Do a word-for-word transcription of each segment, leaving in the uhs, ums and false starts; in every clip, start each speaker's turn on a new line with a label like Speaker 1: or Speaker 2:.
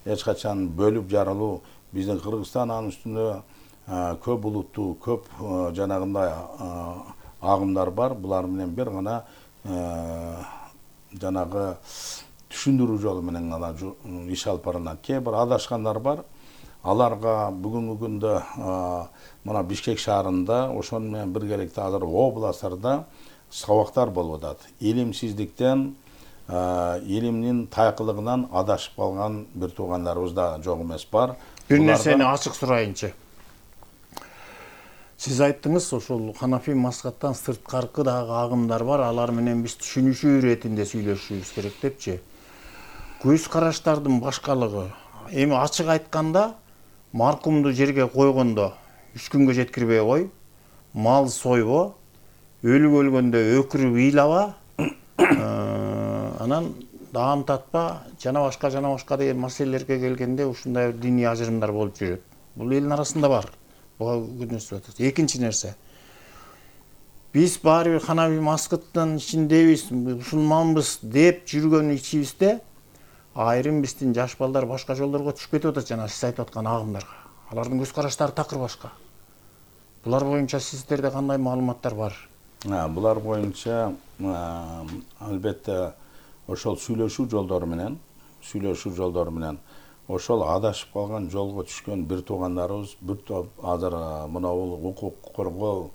Speaker 1: эч качан бөлүп жарылуу. Биздин Кыргызстан анын үстүндө көп улуттуу, көп жанагындай агымдар бар. Булар менен бир гана жанагы түшүндүрүү жолу менен гана иш алып барылат. Кээ бир адашкандар бар. Аларга бүгүнкү күндө мына Бишкек шаарында ошону менен биргеликте азыр областтарда сабактар болуп атат. Илимсиздиктен, илимдин тайкылыгынан адашып калган бир туугандарыбыз да жок эмес бар.
Speaker 2: Бир нерсени ачык сурайынчы. Сиз айттыңыз, ошол Ханафи мазхабтан сырткаркы дагы агымдар бар, алар менен биз түшүнүшүү иретинде сүйлөшүшүбүз керек депчи. Көз караштардын башкалыгы. Эми ачык айтканда, маркумду жерге койгондо үч күнгө жеткирбей кой, мал сойбо, өлүк өлгөндө өкүрүп ыйлаба, анан даам татпа, жана башка жана башка деген маселелерге келгенде ушундай диний ажырымдар болуп жүрөт. Бул элдин арасында бар. Экинчи нерсе. Биз баары бир Ханафи мазхабынын ичиндебиз, мусулманбыз деп жүргөн ичибизде айрым биздин жаш балдар башка жолдорго түшүп кетип атат, жана сиз айтып аткан агымдарга. Алардын көз караштары такыр башка. Булар боюнча сиздерде кандай маалыматтар бар?
Speaker 1: Булар боюнча албетте ошол сүйлөшүү жолдору менен, сүйлөшүү жолдору менен ошол адашып калган жолго түшкөн бир туугандарыбыз бир топ азыр мына бул укук коргоо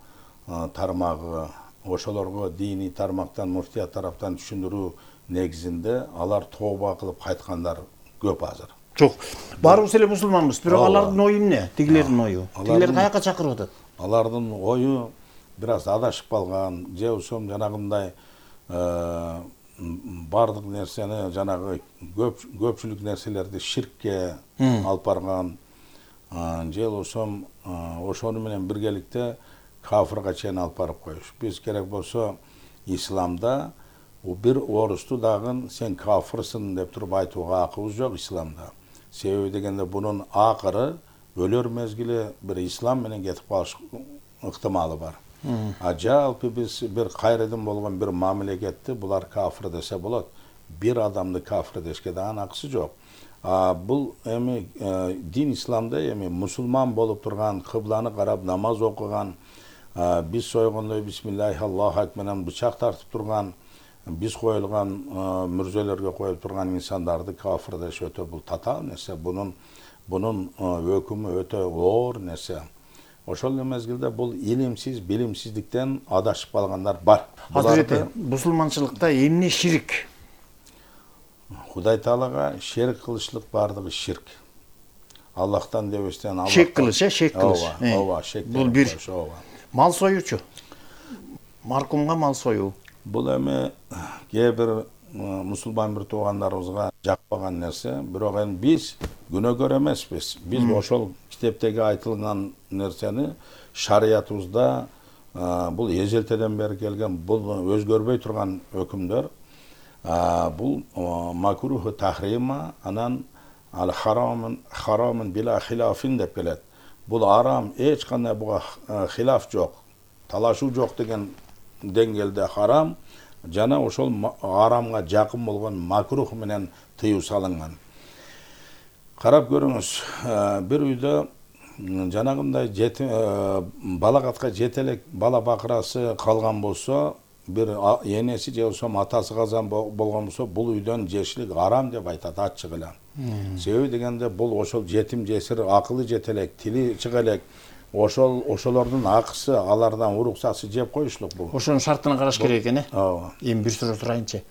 Speaker 1: тармагы, ошолорго диний тармактан, муфтият тараптан түшүндүрүү негизинде алар тооба кылып кайткандар көп азыр.
Speaker 2: Жок, баарыбыз эле мусулманбыз, бирок алардын ою эмне? Тигилердин ою. Тигилер каяка чакырып атат?
Speaker 1: Алардын ою бир аз адашып калган, же ошол жанагындай бардык нерсени, жанагы көпчүлүк нерселерди ширкке алып барган, же ошом ошону менен биргеликте кафырга чейин алып барып коюш. Биз керек болсо исламда бир орусту дагы сен кафырсың деп туруп айтууга акыбыз жок исламда. Себеби дегенде бунун акыры өлөр мезгили бир ислам менен кетип калыш ыктымалы бар. А жалпы биз бир кайрыдын болгон бир мамлекетти булар кафыр десе болот. Бир адамды кафыр дешке да акысы жок. Бул эми дин исламда эми мусулман болуп турган, кыбланы карап намаз окуган, биз сойгондой бисмиллахи Аллаху акбар менен бычак тартып турган, биз коюлган мүрзөлөргө коюп турган инсандарды кафыр деш өтө бул татаал нерсе. Бунун бунун өкүмү өтө оор нерсе. Ошол мезгилде бул илимсиз, билимсиздиктен адашып калгандар бар.
Speaker 2: Азыр мусулманчылыкта эмне ширк?
Speaker 1: Кудай Таалага шерик кылышлык бардыгы ширк. Аллахтан дебестен Аллах.
Speaker 2: Шек кылыш, э, шек кылыш.
Speaker 1: Ооба, шек.
Speaker 2: Бул бир. Мал союучу. Маркумга мал союу.
Speaker 1: Бул эми кээ бир мусулман бир туугандарыбызга жакпаган нерсе, бирок эми биз күнөөкөр эмеспиз. Биз ошол китептеги айтылган нерсени шариятыбызда бул эжелтеден бери келген, бул өзгөрбөй турган өкүмдөр. Бул макруху тахрима, анан ал харамын харамын била хилафин деп келет. Бул арам, эч кандай буга хилаф жок, талашуу жок деген деңгээлде харам, жана ошол арамга жакын болгон макрух менен тыюу салынган. Карап көрүңүз, бир үйдө жанагындай балагатка жете элек бала бакырасы калган болсо, бир энеси же болсо атасы казан болгон болсо, бул үйдөн жешилик арам деп айтат ачык эле. Себеби дегенде бул ошол жетим жесир, акылы жете элек, тили чыга элек, ошол ошолордун акысы, алардан уруксасы жеп коюшлук бул.
Speaker 2: Ошонун шартына караш керек экен, э?
Speaker 1: Ооба.
Speaker 2: Эми бир суроо сурайынчы.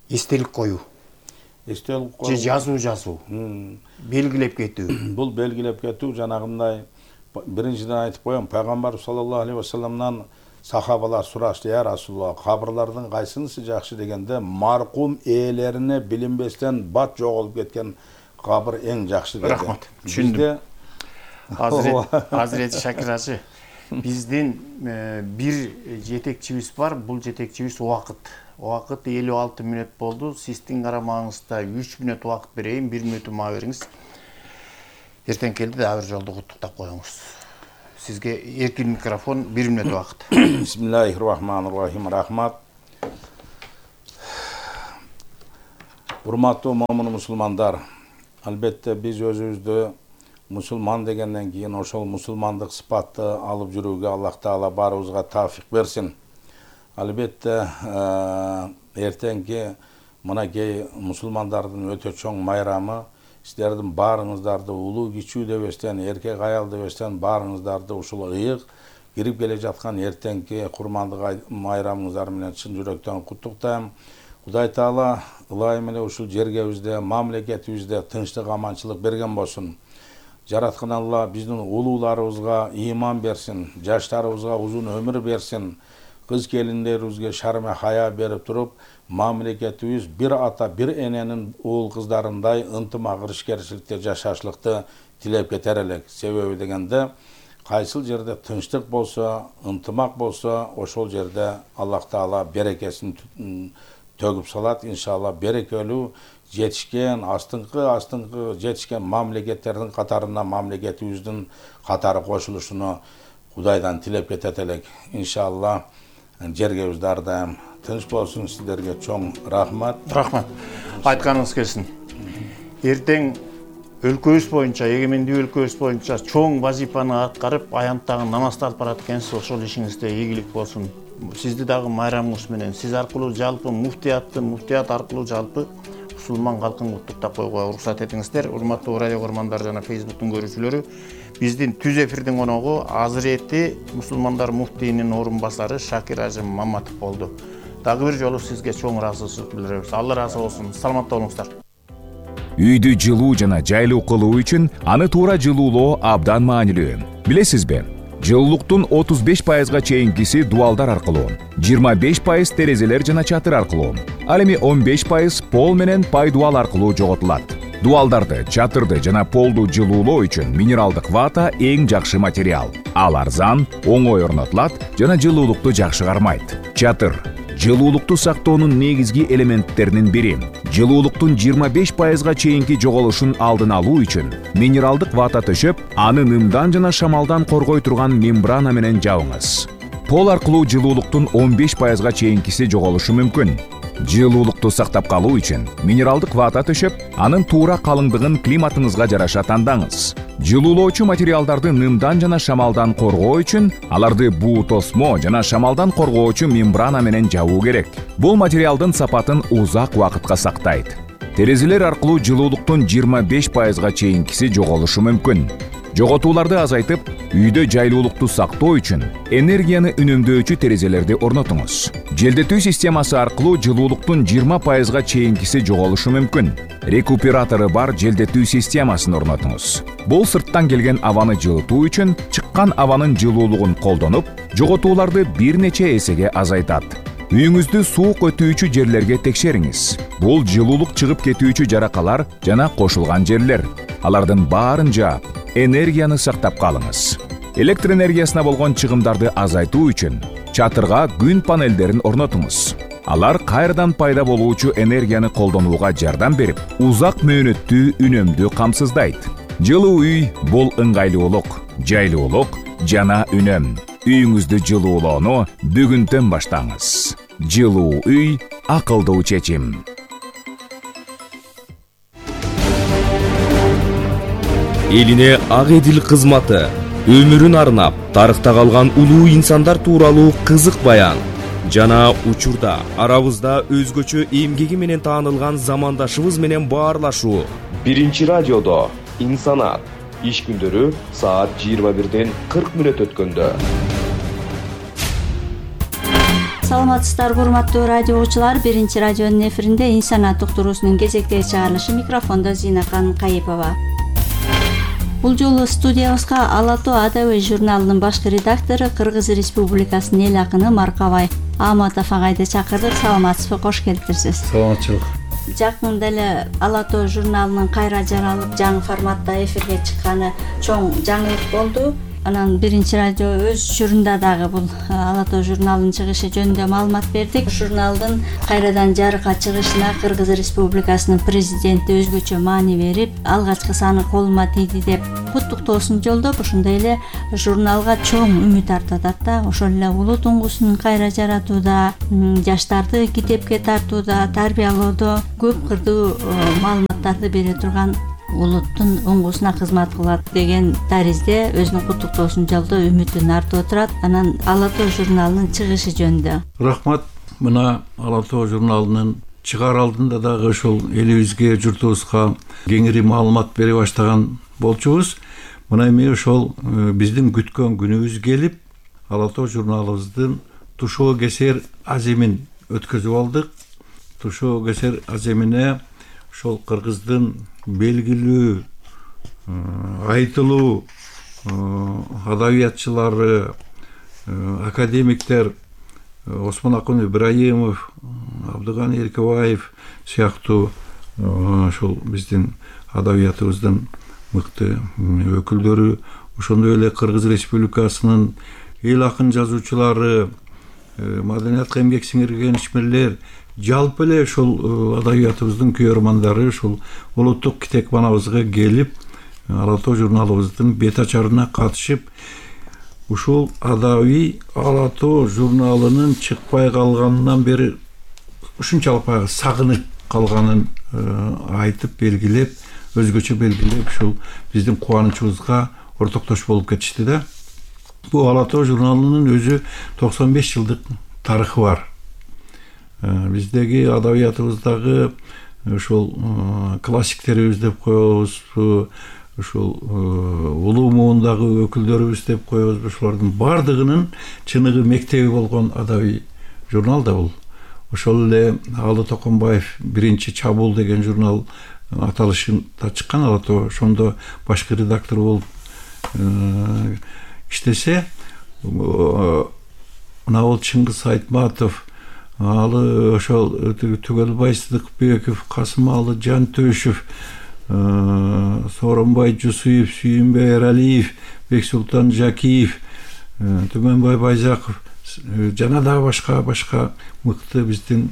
Speaker 2: Эстелик коюу.
Speaker 1: Эстелик коюу.
Speaker 2: Же жазуу жазуу. Белгилеп кетүү.
Speaker 1: Бул белгилеп кетүү жанагындай биринчиден айтып коем, пайгамбар саллаллаху алейхи ва салламдан сахабалар сурашты: "Я Расулулла, кабырлардын кайсынысы жакшы?" дегенде, маркум ээлерине билинбестен бат жоголуп кеткен кабыр эң жакшы деди.
Speaker 2: Рахмат. Түшүндүм. Азырет Азырет Шакир ажы, биздин бир жетекчибиз бар, бул жетекчибиз убакыт. Убакыт элүү алты мүнөт болду. Сиздин карамагыңызда үч мүнөт убакыт берейин, бир мүнөт мага бериңиз. Эртең келди дагы бир жолду куттуктап коюңуз. Сизге эркин микрофон, бир мүнөт убакыт.
Speaker 1: Бисмиллахир-рахманир-рахим. Рахмат. Урматтуу момун мусулмандар, албетте биз өзүбүздү мусулман дегенден кийин ошол мусулмандык сыпатты алып жүрүүгө Аллах Таала баарыбызга таафик берсин. Албетте эртеңки мынакей мусулмандардын өтө чоң майрамы, сиздердин баарыңыздарды улуу кичүү дебестен, эркек аял дебестен баарыңыздарды ушул ыйык кирип келе жаткан эртеңки курмандык майрамыңыздар менен чын жүрөктөн куттуктайм. Кудай Таала ылайым эле ушул жергебизде, мамлекетибизде тынчтык, аманчылык берген болсун. Жараткан Алла биздин улууларыбызга ыйман берсин, жаштарыбызга узун өмүр берсин. Кыз келиндерибизге шарме хая берип туруп, мамлекетибиз бир ата, бир эненин уул кыздарындай ынтымак, ишкерчиликте жашашлыкты тилеп кетер элек. Себеби дегенде, кайсыл жерде тынчтык болсо, ынтымак болсо, ошол жерде Аллах Таала берекесин төгүп салат. Иншалла берекелүү жетишкен, астыңкы астыңкы жетишкен мамлекеттердин катарына мамлекетибиздин катары кошулушуну Кудайдан тилеп кетет элек. Иншалла жергебиз ар дайым тынч болсун. Сиздерге чоң рахмат.
Speaker 2: Рахмат. Айтканыңыз келсин. Эртең өлкөбүз боюнча, эгемендүү өлкөбүз боюнча чоң вазифаны аткарып, аянттагы намазды алып барат экенсиз. Ошол ишиңизде ийгилик болсун. Сизди дагы майрамыңыз менен, сиз аркылуу жалпы муфтиятты, муфтият аркылуу жалпы мусулман калкын куттуктап коюуга уруксат этиңиздер. Урматтуу радио көрмандар жана Фейсбуктун көрүүчүлөрү, биздин түз эфирдин коногу Азырети мусулмандар муфтийинин орун басары Шакир Ажым Маматов болду. Дагы бир жолу сизге чоң ыраазычылык билдиребиз. Алла ыраазы болсун. Саламатта болуңуздар.
Speaker 3: Үйдү жылуу жана жайлуу кылуу үчүн аны туура жылуулоо абдан маанилүү. Билесизби? Жылуулуктун отуз беш пайызга чейинкиси дуалдар аркылуу, жыйырма беш пайыз терезелер жана чатыр аркылуу, ал эми он беш пайыз пол менен пай дуал аркылуу жоготулат. Дуалдарды, чатырды жана полду жылуулоо үчүн минералдык вата эң жакшы материал. Ал арзан, оңой орнотулат жана жылуулукту жакшы кармайт. Чатыр жылуулукту сактоонун негизги элементтеринин бири. Жылуулуктун жыйырма беш пайызга чейинки жоголушун алдын алуу үчүн минералдык вата төшөп, аны нымдан жана шамалдан коргой турган мембрана менен жабыңыз. Пол аркылуу жылуулуктун он беш пайызга чейинкиси жоголушу мүмкүн. Жылуулукту сактап калуу үчүн минералдык вата төшөп, анын туура калыңдыгын климатыңызга жараша тандаңыз. Жылуулоочу материалдарды нымдан жана шамалдан коргоо үчүн аларды буу тосмо жана шамалдан коргоочу мембрана менен жабуу керек. Бул материалдын сапатын узак убакытка сактайт. Терезелер аркылуу жылуулуктун жыйырма беш пайызга чейинкиси жоголушу мүмкүн. Жоготууларды азайтып, үйдө жайлуулукту сактоо үчүн энергияны үнөмдөөчү терезелерди орнотуңуз. Желдетүү системасы аркылуу жылуулуктун жыйырма пайызга чейинкиси жоголушу мүмкүн. Рекуператору бар желдетүү системасын орнотуңуз. Бул сырттан келген абаны жылытуу үчүн чыккан абанын жылуулугун колдонуп, жоготууларды бир нече эсеге азайтат. Үйүңүздү суук өтүүчү жерлерге текшериңиз. Бул жылуулук чыгып кетүүчү жаракалар жана кошулган жерлер. Алардын баарын жаап, энергияны сактап калыңыз. Электр энергиясына болгон чыгымдарды азайтуу үчүн чатырга күн панелдерин орнотуңуз. Алар кайрадан пайда болуучу энергияны колдонууга жардам берип, узак мөөнөттүү үнөмдү камсыздайт. Жылуу үй бул ыңгайлуулук, жайлуулук жана үнөм. Үйүңүздү жылуулоону бүгүндөн баштаңыз. Жылуу үй акылдуу чечим.
Speaker 4: Элине ак эдил кызматы, өмүрүн арнап, тарыхта калган улуу инсандар тууралуу кызык баян. Жана учурда арабызда өзгөчө эмгеги менен таанылган замандашыбыз менен баарлашуу. Биринчи радиодо инсанат. Иш күндөрү саат жыйырма бирден кырк мүнөт өткөндө.
Speaker 5: Саламатсыздарбы, урматтуу радио угуучулар. Биринчи радионун эфиринде инсанат уктуруусунун кезектеги чыгарылышы, микрофондо Зинакан Кайыпова. Бул жолу студиябызга Ала тоо адабий журналынын башкы редактору, Кыргыз Республикасынын эл акыны Маркабай Аматов агайды чакырдык. Саламатсызбы, кош келиптирсиз.
Speaker 2: Саламатчылык.
Speaker 5: Жакында эле Ала тоо журналынын кайра жаралып жаңы форматта эфирге чыкканы чоң жаңылык болду. Анан биринчи радио өз учурунда дагы бул Ала Тоо журналынын чыгышы жөнүндө маалымат бердик. Журналдын кайрадан жарыкка чыгышына Кыргыз Республикасынын президенти өзгөчө маани берип, алгачкы саны колума тийди деп куттуктоосун жолдоп, ошондой эле журналга чоң үмүт артат да. Ошол эле улуу туңгусун кайра жаратууда, жаштарды китепке тартууда, тарбиялоодо көп кырдуу маалыматтарды бере турган улуттун оңгусуна кызмат кылат деген таризде өзүнүн куттуктоосун жолдоп, үмүтүн артып отурат. Анан Ала Тоо журналынын чыгышы жөнүндө.
Speaker 6: Рахмат. Мына Ала Тоо журналынын чыгаар алдында дагы ошол элибизге, журтубузга кеңири маалымат бере баштаган болчубуз. Мына эми ошол биздин күткөн күнүбүз келип, Ала Тоо журналыбыздын тушоо кесер аземин өткөзүп алдык. Тушоо кесер аземине ошол кыргыздын белгилүү айтылуу адабиятчылары, академиктер Осмонакун Ибраимов, Абдыган Эркебаев сыяктуу ошол биздин адабиятыбыздын мыкты өкүлдөрү, ошондой эле Кыргыз Республикасынын эл акын жазуучулары, маданиятка эмгек сиңирген ишмерлер, жалпы эле ушул адабиятыбыздын күйөрмандары ушул улуттук китепканабызга келип, Ала Тоо журналыбыздын бет ачарына катышып, ушул адабий Ала Тоо журналынын чыкпай калганынан бери ушунчалык баягы сагынып калганын айтып, белгилеп, өзгөчө белгилеп, ушул биздин кубанычыбызга ортоктош болуп кетишти да. Бул Ала Тоо журналынын өзү токсон беш жылдык тарыхы бар. Биздеги адабиятыбыздагы ушул классиктерибиз деп коебуз, ушул улуу муундагы өкүлдөрүбүз деп коебуз. Ушулардын бардыгынын чыныгы мектеби болгон адабий журнал да бул. Ошол эле Алы Токонбаев биринчи чабуул деген журнал аталышында чыккан Ала Тоо, ошондо башкы редактор болуп иштесе, мына бул Чыңгыз Айтматов, алы ошол Түгөлбай Сыдыкбеков, Касымалы Жантөшев, Сооронбай Жусуев, Сүйүнбай Эралиев, Бексултан Жакиев, Түмөнбай Байзаков жана дагы башка башка мыкты биздин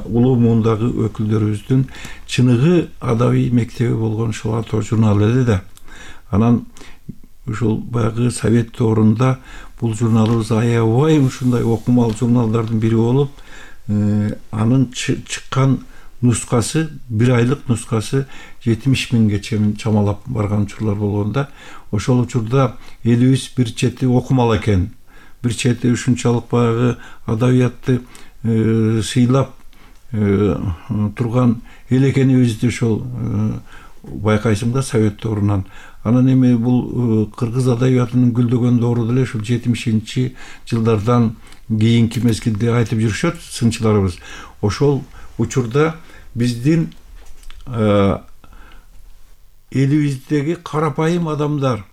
Speaker 6: улуу муундагы өкүлдөрүбүздүн чыныгы адабий мектеби болгон ушул Ала Тоо журналы эле да. Анан ушул баягы совет доорунда бул журналыбыз аябай ушундай окумал журналдардын бири болуп, анын чыккан нускасы, бир айлык нускасы жетимиш миңге чейин чамалап барган учурлар болгонда, ошол учурда элибиз бир чети окумал экен, бир чети ушунчалык баягы адабиятты сыйлап турган эл экенибизди ошол байкайсың да совет доорунан. Анан эми бул кыргыз адабиятынын гүлдөгөн доору деле ушул жетимишинчи жылдардан кийинки мезгилде айтып жүрүшөт сынчыларыбыз. Ошол учурда биздин элибиздеги карапайым адамдар,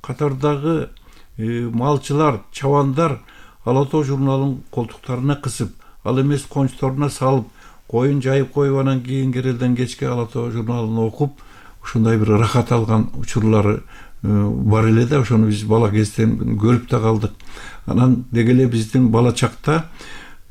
Speaker 6: катардагы малчылар, чабандар Ала Тоо журналын колтуктарына кысып, ал эмес кончторуна салып, коюн жайып коюп, анан кийин керелден кечке Ала Тоо журналын окуп, ушундай бир рахат алган учурлары бар эле да. Ошону биз бала кезден көрүп да калдык. Анан деги эле биздин бала чакта,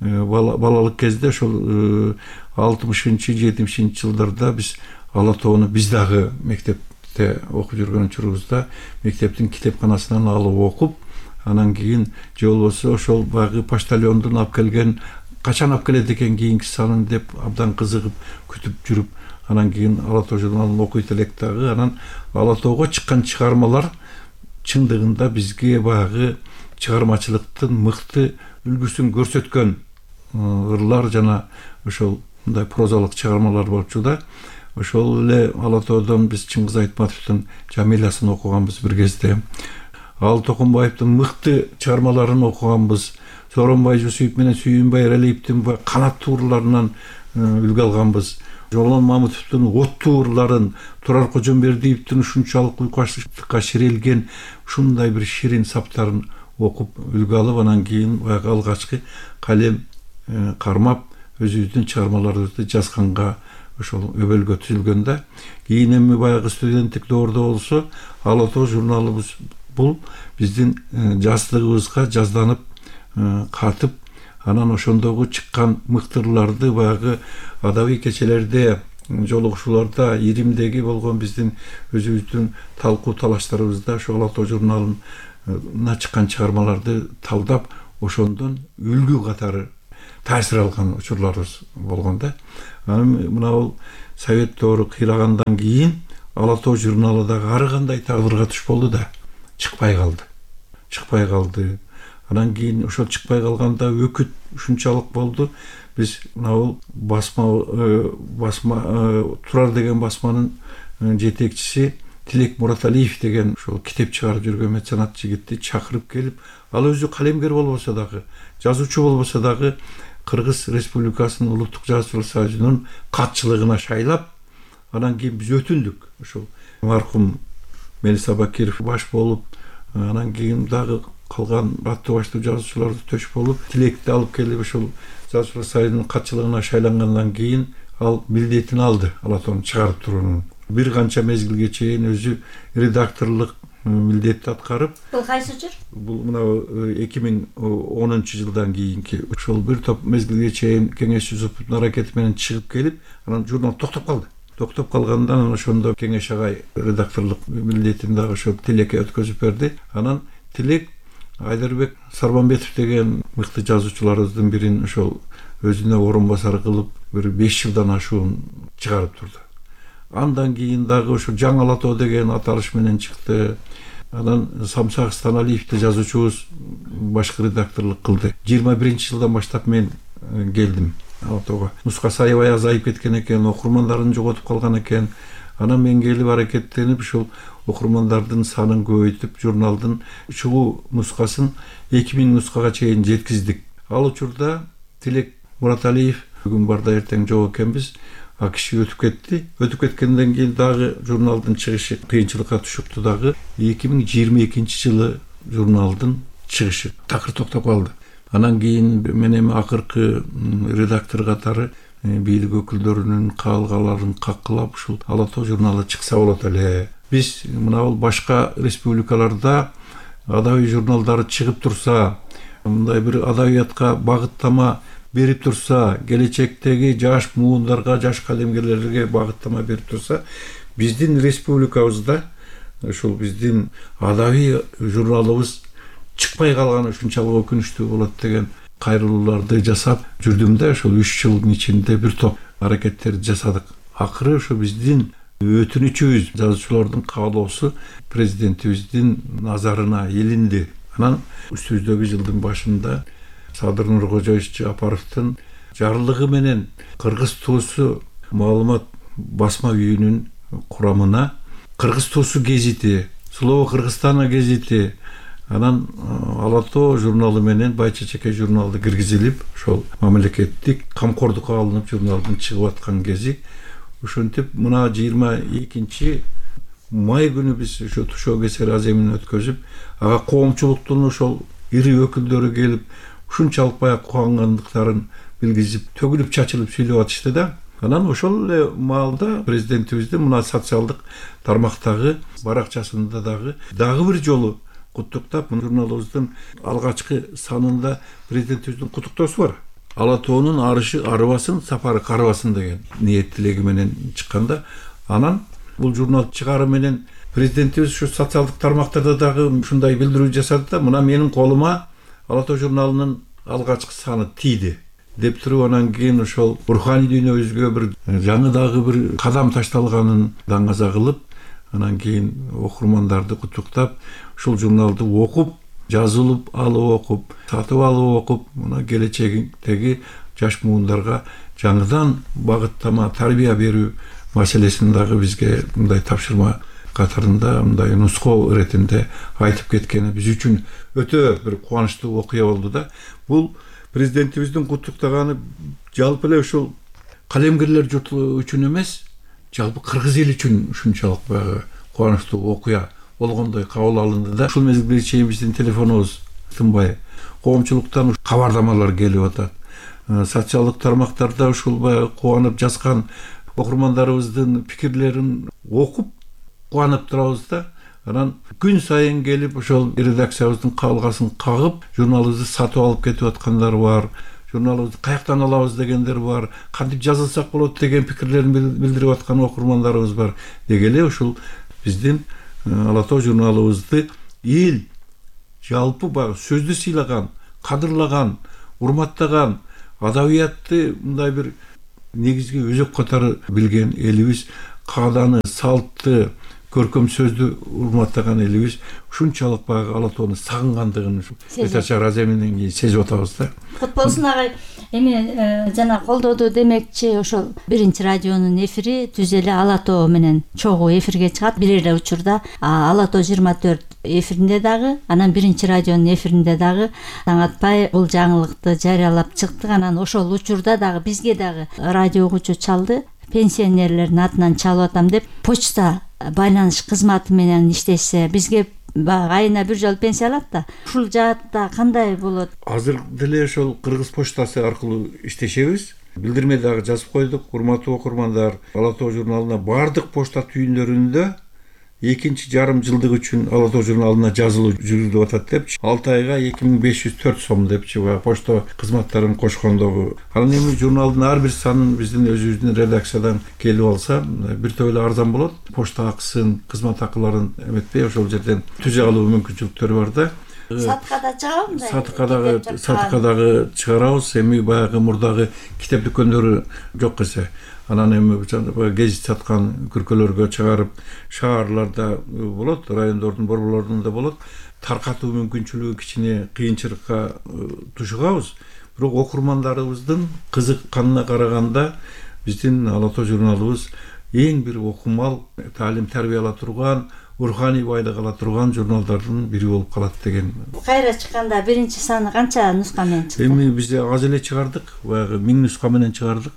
Speaker 6: балалык кезде ошол алтымышынчы жетимишинчи жылдарда биз Ала Тоону биз дагы мектепте окуп жүргөн учурубузда мектептин китепканасынан алып окуп, анан кийин же болбосо ошол баягы почтальондун алып келген, качан алып келет экен кийинки санын деп абдан кызыгып күтүп жүрүп, анан кийин Ала Тоо журналын окуйт элек дагы. Анан Ала Тоого чыккан чыгармалар чындыгында бизге баягы чыгармачылыктын мыкты үлгүсүн көрсөткөн ырлар жана ошол мындай прозалык чыгармалар болчу да. Ошол эле Ала Тоодон биз Чыңгыз Айтматовдун Жамилясын окуганбыз бир кезде. Алы Токонбаевдин мыкты чыгармаларын окуганбыз. Сооронбай Жусуев менен Сүйүнбай Эралиевдин канат турларынан үлгү алганбыз. Жолон Мамытовдун оттуу ырларын, Турар Кожомбердиевдин ушунчалык уйкуачтыкка ширелген ушундай бир ширин саптарын окуп үлгү алып, анан кийин баягы алгачкы калем кармап өзүбүздүн чыгармаларыбызды жазганга ошол өбөлгө түзүлгөн да. Кийин эми баягы студенттик доордо болсо Ала Тоо журналыбыз бул биздин жаздыгыбызга жазданып катып, анан ошондогу чыккан мыктырларды баягы адабий кечелерде, жолугушууларда, Иримдеги болгон биздин өзүбүздүн талкуу талаштарыбызда ошо Ала тоо журналына чыккан чыгармаларды талдап, ошондон үлгү катары таасир алган учурларыбыз болгон да. Анан мына бул Совет доору кыйлагандан кийин Ала тоо журналы дагы ар кандай тагдырга туш болду да, чыкпай калды. Чыкпай калды. Анан кийин ошол чыкпай калганда өкүт ушунчалык болду. Биз мына бул басма басма Турар деген басманын жетекчиси Тилек Мураталиев деген ошол китеп чыгарып жүргөн меценат жигитти чакырып келип, ал өзү калемгер болбосо дагы, жазуучу болбосо дагы Кыргыз Республикасынын Улуттук Жазуучулар союзунун катчылыгына шайлап, анан кийин биз өтүндүк. Ошол маркум Мелиса Бакиров баш болуп, анан кийин дагы калган аттуу баштуу жазуучуларды төш болуп, Тилекти алып келип ошол Жазуучулар союзунун катчылыгына шайлангандан кийин ал милдетин алды, Ала тоону чыгарып туруунун. Бир канча мезгилге чейин өзү редакторлук милдетти аткарып.
Speaker 5: Бул кайсы жыл?
Speaker 6: Бул мына эки миң онунчу жылдан кийинки ошол бир топ мезгилге чейин Кеңеш Жусуповдун аракети менен чыгып келип, анан журнал токтоп калды. Токтоп калгандан ошондо Кеңеш агай редакторлук милдетин дагы ошо Тилекке өткөзүп берди. Анан Тилек Айдарбек Сарбанбетов деген мыкты жазуучуларыбыздын бирин ошол өзүнө орун басар кылып, бир беш жылдан ашуун чыгарып турду. Андан кийин дагы ошо Жаңы Ала тоо деген аталыш менен чыкты. Анан Самсак Станалиевди жазуучубуз башкы редакторлук кылды. жыйырма биринчи жылдан баштап мен келдим Ала тоого. Нускасы аябай азайып кеткен экен, окурмандарын жоготуп калган экен. Анан мен келип аракеттенип ушул окурмандардын санын көбөйтүп, журналдын чогуу нускасын эки миң нускага чейин жеткиздик. Ал учурда Тилек Мураталиев бүгүн барда эртең жок экенбиз. А киши өтүп кетти. Өтүп кеткенден кийин дагы журналдын чыгышы кыйынчылыкка түшүптү дагы. эки миң жыйырма экинчи жылы журналдын чыгышы такыр токтоп калды. Анан кийин мен эми акыркы редактор катары бийлик өкүлдөрүнүн каалгаларын каккылап ушул Ала тоо журналы чыкса болот эле. Биз мына бул башка республикаларда адабий журналдары чыгып турса, мындай бир адабиятка багыттама берип турса, келечектеги жаш муундарга, жаш калемгерлерге багыттама берип турса, биздин республикабызда ушул биздин адабий журналыбыз чыкпай калганы ушунчалык өкүнүчтүү болот деген кайрылууларды жасап жүрдүм да. Ошол үч жылдын ичинде бир топ аракеттерди жасадык. Акыры ошо биздин өтүнүчүбүз, жазуучулардын каалоосу президентибиздин назарына илинди. Анан үстүбүздөгү жылдын башында Садыр Нуркожоевич Жапаровдун жарлыгы менен Кыргыз туусу маалымат басма үйүнүн курамына Кыргыз туусу гезити, Слово Кыргызстана гезити, анан Ала тоо журналы менен Бай Чечекей журналды киргизилип, ошол мамлекеттик камкордукка алынып журналдын чыгып аткан кези. Ошентип мына жыйырма экинчи май күнү биз ошо Тушоо Кесер аземин өткөзүп, ага коомчулуктун ошол ири өкүлдөрү келип, ушунчалык баягы кубангандыктарын билгизип, төгүлүп чачылып сүйлөп атышты да. Анан ошол эле маалда президентибиздин мына социалдык тармактагы баракчасында дагы дагы бир жолу куттуктап, журналыбыздын алгачкы санында президентибиздин куттуктоосу бар. Ала тоонун арышы арыбасын, сапары карыбасын деген ниет тилеги менен чыкканда, анан бул журнал чыгары менен президентибиз ушу социалдык тармактарда дагы ушундай билдирүү жасады да, мына менин колума Ала тоо журналынын алгачкы саны тийди деп туруп, анан кийин ошол руханий дүйнөбүзгө бир жаңы дагы бир кадам ташталганын даңаза кылып, анан кийин окурмандарды куттуктап, ушул журналды окуп, жазылып алып окуп, сатып алып окуп, мына келечектеги жаш муундарга жаңыдан багыттама, тарбия берүү маселесин дагы бизге мындай тапшырма катарында, мындай нускоо иретинде айтып кеткени биз үчүн өтө бир кубанычтуу окуя болду да. Бул президентибиздин куттуктаганы жалпы эле ушул калемгерлер журту үчүн эмес, жалпы кыргыз эли үчүн ушунчалык баягы кубанычтуу окуя болгондой кабыл алынды да. Ушул мезгилге чейин биздин телефонубуз тынбай, коомчулуктан кабардамалар келип атат. Социалдык тармактарда ушул баягы кубанып жазган окурмандарыбыздын пикирлерин окуп кубанып турабыз да. Анан күн сайын келип ошол редакциябыздын кабылгасын кагып, журналыбызды сатып алып кетип аткандар бар. Журналыбызды каяктан алабыз дегендер бар. Кантип жазылсак болот деген пикирлерин билдирип аткан окурмандарыбыз бар. Деги эле ушул биздин Ала Тоо журналыбызды эл жалпы баягы сөздү сыйлаган, кадырлаган, урматтаган, адабиятты мындай бир негизги өзөк катары билген элибиз, кааданы, салтты, көркөм сөздү урматтаган элибиз ушунчалык баягы Ала Тоону сагынгандыгын Этачар Аземинен кийин сезип атабыз да.
Speaker 5: Кут болсун агай. Эми жана колдоду демекчи ошол биринчи радионун эфири түз эле Ала Тоо менен чогуу эфирге чыгат. Бир эле учурда Ала Тоо жыйырма төрт эфиринде дагы, анан биринчи радионун эфиринде дагы таң атпай бул жаңылыкты жарыялап чыктык. Анан ошол учурда дагы бизге дагы радио угуучу чалды. Пенсионерлердин атынан чалып атам деп почта байланыш кызматы менен иштешсе, бизге айына бир жолу пенсия алат да. Ушул жаатта кандай болот?
Speaker 6: Азыр деле ошол Кыргыз почтасы аркылуу иштешебиз. Билдирме дагы жазып койдук. Урматтуу окурмандар, Ала Тоо журналына бардык почта түйүндөрүндө экинчи жарым жылдык үчүн Ала Тоо журналына жазылуу жүргүзүлүп атат деп, алты айга эки миң беш жүз төрт сом депчи почта кызматтарын кошкондогу. Анан эми журналдын ар бир санын биздин өзүбүздүн редакциядан келип алса, бир топ эле арзан болот. Почта акысын, кызмат акыларын эметпей ошол жерден түзө алуу мүмкүнчүлүктөрү бар да.
Speaker 5: Сатыкада чыгабы?
Speaker 6: Сатыкадагы сатыкадагы чыгарабыз. Эми баягы мурдагы китеп дүкөндөрү жок эсе. Анан эми гезит саткан күркөлөргө чыгарып, шаарларда болот, райондордун борборлорунда болот. Таркатуу мүмкүнчүлүгү кичине кыйынчылыкка тушугабыз. Бирок окурмандарыбыздын кызыкканына караганда биздин Ала Тоо журналыбыз эң бир окумал, таалим тарбия ала турган, руханий байлык ала турган журналдардын бири болуп калат деген.
Speaker 5: Кайра чыкканда биринчи саны канча нуска менен чыкты?
Speaker 6: Эми биз аз эле чыгардык, баягы миң нуска менен чыгардык.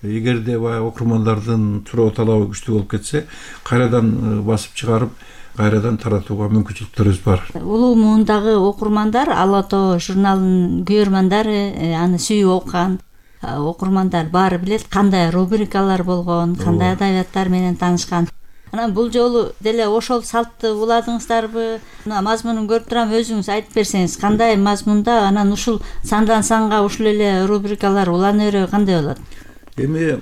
Speaker 6: Эгерде баягы окурмандардын суроо талабы күчтүү болуп кетсе, кайрадан басып чыгарып, кайрадан таратууга мүмкүнчүлүктөрүбүз бар.
Speaker 5: Улуу муундагы окурмандар, Ала Тоо журналынын көрөрмандары, аны сүйүп окуган окурмандар баары билет кандай рубрикалар болгон, кандай адабияттар менен таанышкан. Анан бул жолу деле ошол салтты уладыңыздарбы? Мына мазмунун көрүп турам, өзүңүз айтып берсеңиз, кандай мазмунда, анан ушул сандан санга ушул эле рубрикалар улана береби кандай болот?
Speaker 6: Эми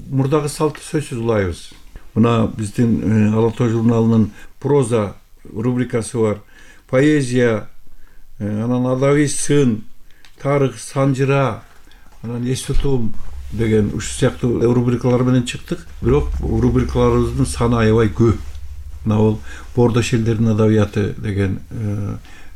Speaker 6: мурдагы салтты сөзсүз улайбыз. Мына биздин Ала Тоо журналынын проза рубрикасы бар, поэзия, анан адабий сын, тарых, санжыра, анан эс тутум деген ушул сыяктуу рубрикалар менен чыктык. Бирок рубрикаларыбыздын саны аябай көп. Мына бул Бордо шелдердин адабияты деген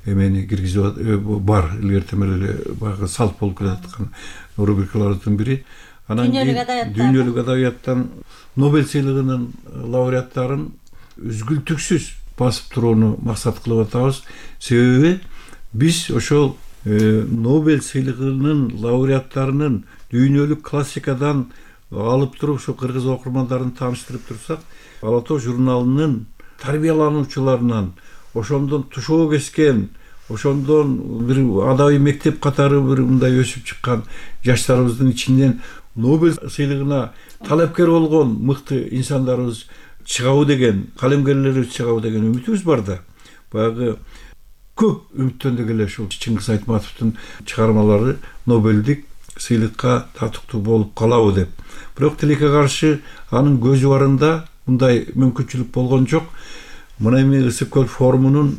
Speaker 6: эмени киргизип бар. Илгертен эле баягы салт болуп келаткан рубрикалардын бири. Анан дүйнөлүк адабияттан Нобель сыйлыгынын лауреаттарын үзгүлтүксүз басып турууну максат кылып атабыз. Себеби биз ошол Нобель сыйлыгынын лауреаттарынын дүйнөлүк классикадан алып туруп ушу кыргыз окурмандарын тааныштырып турсак, Ала Тоо журналынын тарбиялануучуларынан, ошондон тушоо кескен, ошондон бир адабий мектеп катары бир мындай өсүп чыккан жаштарыбыздын ичинен Нобель сыйлыгына талапкер болгон мыкты инсандарыбыз чыгабы деген, калемгерлерибиз чыгабы деген үмүтүбүз бар да. Баягы көп үмүттөндүк эле ушул Чыңгыз Айтматовдун чыгармалары Нобелдик сыйлыкка татыктуу болуп калабы деп. Бирок тилекке каршы анын көзү барында мындай мүмкүнчүлүк болгон жок. Мына эми Ысык көл форумунун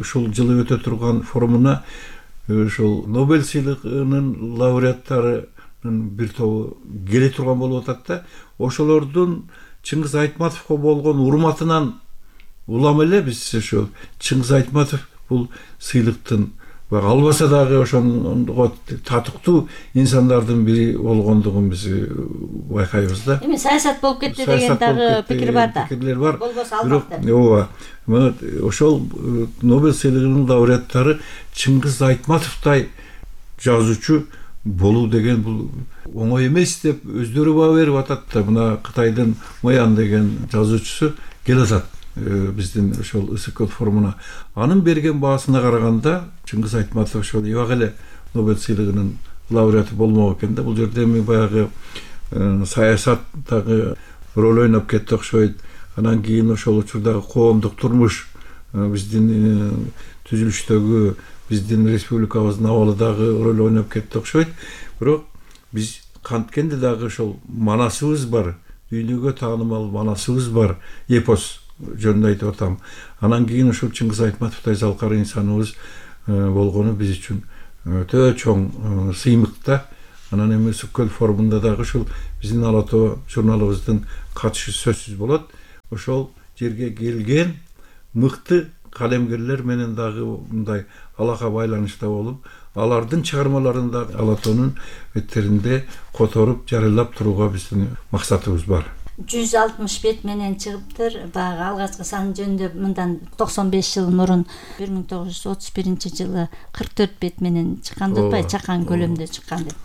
Speaker 6: ушул жылы өтө турган форумуна ушул Нобель сыйлыгынын лауреаттарынын бир тобу келе турган болуп атат да. Ошолордун Чыңгыз Айтматовго болгон урматынан улам эле биз ошол Чыңгыз Айтматов бул сыйлыктын албаса дагы ошондого татыктуу инсандардын бири болгондугун биз байкайбыз да.
Speaker 5: Эми саясат болуп кетти деген дагы пикир бар да.
Speaker 6: Пикирлер бар.
Speaker 5: Болбосо албак деп.
Speaker 6: Ооба. Ошол Нобель сыйлыгынын лауреаттары Чыңгыз Айтматовдай жазуучу болуу деген бул оңой эмес деп өздөрү баа берип атат да. Мына Кытайдын Моян деген жазуучусу келе атат биздин ошол Ысык көл форумуна. Анын берген баасына караганда Чыңгыз Айтматов ошол эбак эле Нобель сыйлыгынын лауреаты болмок экен да. Бул жерде эми баягы саясаттагы роль ойноп кетти окшойт. Анан кийин ошол учурдагы коомдук турмуш биздин түзүлүштөгү биздин республикабыздын абалы дагы роль ойноп кетти окшойт. Бирок биз канткенде дагы ошол манасыбыз бар, дүйнөгө таанымал манасыбыз бар, эпос жөнүндө айтып атам. Анан кийин ушул Чыңгыз Айтматовдой залкар инсаныбыз болгону биз үчүн өтө чоң сыймык да. Анан эми Сүккөл форумунда дагы ушул биздин Ала Тоо журналыбыздын катышы сөзсүз болот. Ошол жерге келген мыкты калемгерлер менен дагы мындай алака байланышта болуп, алардын чыгармаларын да Ала Тоонун беттеринде которуп, жарыялап турууга биздин максатыбыз бар.
Speaker 5: жүз алтымыш бет менен чыгыптыр. Баягы алгачкы сан жөнүндө мындан токсон беш жыл мурун бир миң тогуз жүз отуз биринчи жылы кырк төрт бет менен чыккан деп атпайбы, чакан көлөмдө чыккан деп.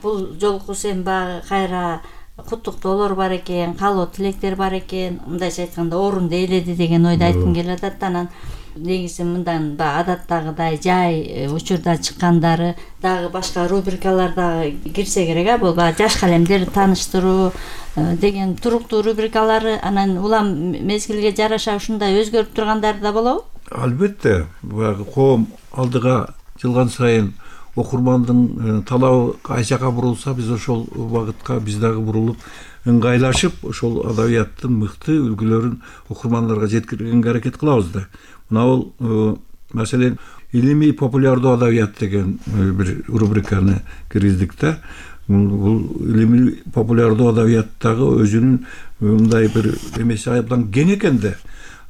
Speaker 5: Бул жолкусу эми баягы кайра куттуктоолор бар экен, каалоо тилектер бар экен, мындайча айтканда орунду ээледи деген ойду айткым келип атат. Анан негизи мындан баягы адаттагыдай жай учурда чыккандары дагы башка рубрикаларда кирсе керек, а бул баягы жаш калемдер тааныштыруу деген туруктуу рубрикалары, анан улам мезгилге жараша ушундай өзгөрүп тургандары да болобу?
Speaker 6: Албетте, баягы коом алдыга жылган сайын окурмандын талабы кайчака бурулса, биз ошол багытка биз дагы бурулуп, ыңгайлашып, ошол адабияттын мыкты үлгүлөрүн окурмандарга жеткиргенге аракет кылабыз да. Мына бул маселен илимий популярдуу адабият деген бир рубриканы киргиздик да. Бул илимий популярдуу адабияттагы өзүнүн мындай бир эмеси абдан кең экен да.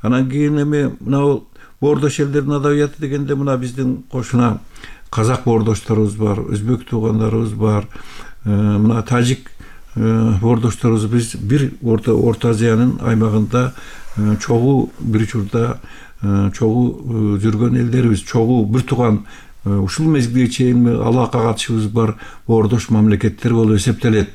Speaker 6: Анан кийин эми мына бул боордош элдердин адабияты дегенде мына биздин кошуна казак боордошторубуз бар, өзбек туугандарыбыз бар, мына тажик боордошторубуз. Биз бир Орто Орто Азиянын аймагында чогуу бир учурда чогуу жүргөн элдерибиз, чогуу бир тууган ушул мезгилге чейин алака катышыбыз бар боордош мамлекеттер болуп эсептелет.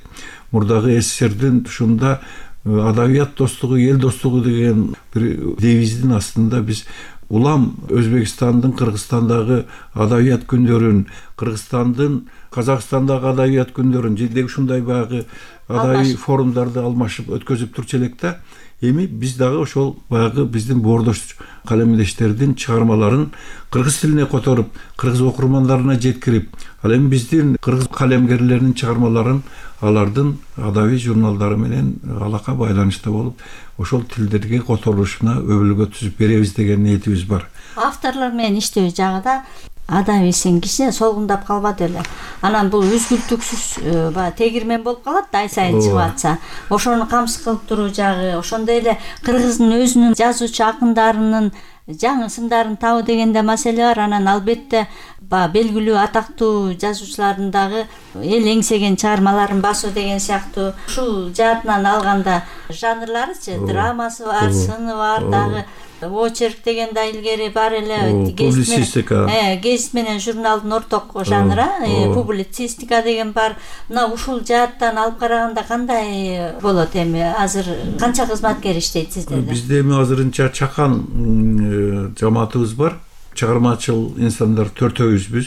Speaker 6: Мурдагы СССРдин ушунда адабият достугу, эл достугу деген бир девиздин астында биз улам Өзбекстандын, Кыргызстандагы адабият күндөрүн, Кыргызстандын, Казакстандагы адабият күндөрүн жеде ушундай баягы адабий форумдарды алмашып өткөзүп турчу элек да. Эми биз дагы ошол баягы биздин боордош калемдештердин чыгармаларын кыргыз тилине которуп, кыргыз окурмандарына жеткирип, ал эми биздин кыргыз калемгерлеринин чыгармаларын алардын адабий журналдары менен алака байланышта болуп, ошол тилдерге которулушуна өбөлгө түзүп беребиз деген ниетибиз бар.
Speaker 5: Авторлор менен иштөө жагында адабийсин киши солгундап калбады эле. Анан бул үзгүлтүксүз баягы тегирмен болуп калат да, ай сайын чыгып атса. Ошону камсыз кылып туруу жагы, ошондой эле кыргыздын өзүнүн жазуучу акындарынын жаңы сындарын табуу дегенде маселе бар. Анан албетте баягы белгилүү атактуу жазуучулардын дагы эл эңсеген чыгармаларын басуу деген сыяктуу ушул жаатынан алганда жанрларычы, драмасы бар, сыны бар, дагы очерк деген да илгери бар эле,
Speaker 6: публицистика.
Speaker 5: Э, гезит менен журналдын орток жанры, публицистика деген бар. Мына ушул жааттан алып караганда кандай болот эми? Азыр канча кызматкер иштейт сиздерде?
Speaker 6: Бизде эми азырынча чакан жамаатыбыз бар. Чыгармачыл инсандар төртөөбүзбүз.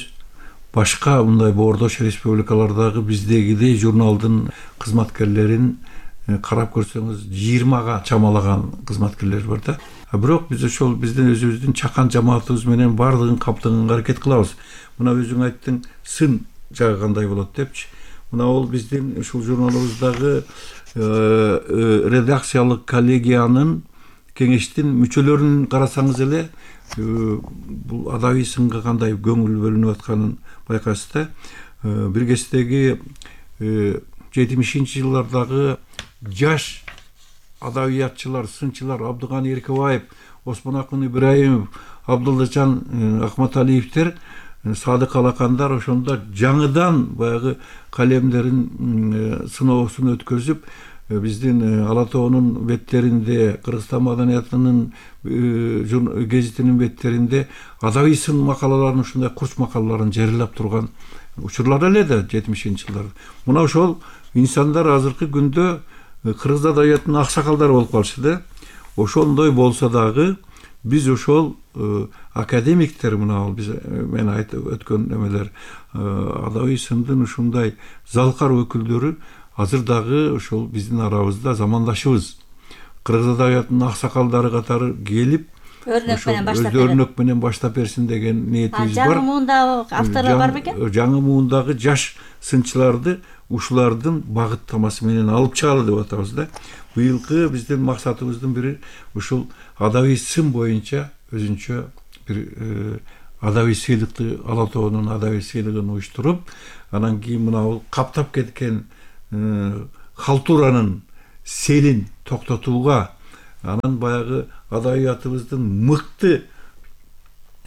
Speaker 6: Башка мындай боордош республикалардагы биздегидей журналдын кызматкерлерин карап көрсөңүз жыйырмага чамалаган кызматкерлер бар да. А бирок биз ошол биздин өзүбүздүн чакан жамаатыбыз менен бардыгын каптаганга аракет кылабыз. Мына өзүң айттың, сын жагы кандай болот депчи. Мына ол биздин ушул журналыбыздагы редакциялык коллегиянын кеңештин мүчөлөрүн карасаңыз эле бул адабий сынга кандай көңүл бөлүнүп атканын байкайсыз да. Бир кездеги жетимишинчи жылдардагы жаш адабиятчылар, сынчылар Абдыганы Эркебаев, Осмонакын Ибраимов, Абдуллажан Акматалиевтер, Садык Алакандар ошондо жаңыдан баягы калемдерин сыноосун өткөзүп, биздин Ала Тоонун беттеринде, Кыргызстан маданиятынын гезитинин беттеринде адабий сын макалаларын, ушундай курч макалаларын жарыялап турган учурлар эле да жетимишинчи жылдарда. Мына ошол инсандар азыркы күндө кыргыз адабиятынын аксакалдары болуп калышы да. Ошондой болсо дагы биз ошол академиктер, мына ал биз мен айтып өткөн эмелер адабий сындын ушундай залкар өкүлдөрү азыр дагы ошол биздин арабызда замандашыбыз. Кыргыз адабиятынын аксакалдары катары келип,
Speaker 5: Өрнөк менен баштап
Speaker 6: берет. Өрнөк менен баштап берсин деген ниетибиз бар.
Speaker 5: Жаңы муундагы авторлор бар бекен?
Speaker 6: Жаңы муундагы жаш сынчыларды ушулардын багыттамасы менен алып чыгалы деп атабыз да. Быйылкы биздин максатыбыздын бири ушул адабий сын боюнча өзүнчө бир адабий сыйлыкты, Ала тоонун адабий сыйлыгын уюштуруп, анан кийин мына каптап кеткен халтуранын селин токтотууга, анан баягы адабиятыбыздын мыкты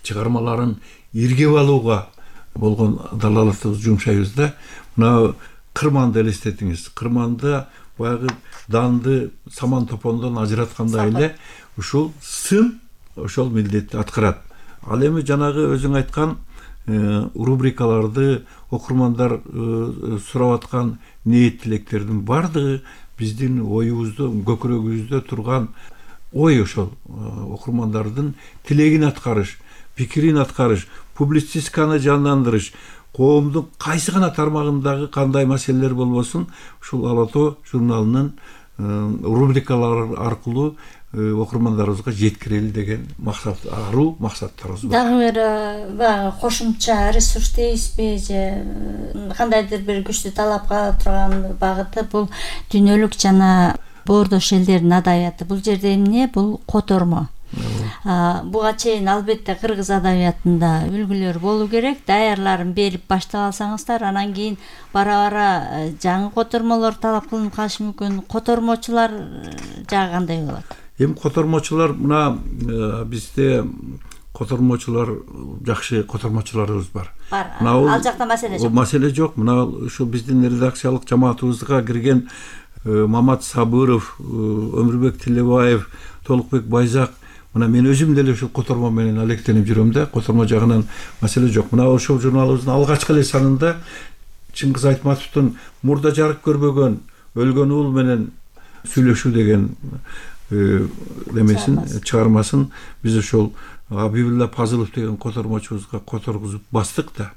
Speaker 6: чыгармаларын иргеп алууга болгон далалатыбызды жумшайбыз да. Мына кырманды элестетиңиз. Кырманда баягы данды саман топондон ажыраткандай эле ушул сын ошол милдетти аткарат. Ал эми жанагы өзүң айткан рубрикаларды окурмандар сурап аткан ниет тилектердин бардыгы биздин оюбузда, көкүрөгүбүздө турган ой ошол окурмандардын тилегин аткарыш, пикирин аткарыш, публицистиканы жандандырыш, коомдун кайсы гана тармагындагы кандай маселелер болбосун ушул Ала тоо журналынын рубрикалары аркылуу окурмандарыбызга жеткирели деген максат, аруу максаттарыбыз бар.
Speaker 5: Дагы бир баягы кошумча ресурс дейсизби же кандайдыр бир күчтүү талапка турган багыты бул дүйнөлүк жана боордош элдердин адабияты. Бул жерде эмне? Бул котормо. Буга чейин албетте кыргыз адабиятында үлгүлөр болуу керек. Даярларын берип баштап алсаңыздар, анан кийин бара-бара жаңы котормолор талап кылынып калышы мүмкүн. Котормочулар жагы кандай болот?
Speaker 6: Эми котормочулар мына бизде котормочулар жакшы котормочуларыбыз бар.
Speaker 5: Бар. Ал жакта маселе жок.
Speaker 6: Маселе жок. Мына ушу биздин редакциялык жамаатыбызга кирген Мамат Сабыров, Өмүрбек Тилебаев, Толукбек Байзак, мына мен өзүм деле ушул котормо менен алектенип жүрөм да, котормо жагынан маселе жок. Мына ошол журналыбыздын алгачкы эле санында Чыңгыз Айтматовдун мурда жарык көрбөгөн өлгөн уул менен сүйлөшүү деген демесин, чыгармасын биз ошол Абибулла Пазылов деген котормочубузга которгузуп бастык да.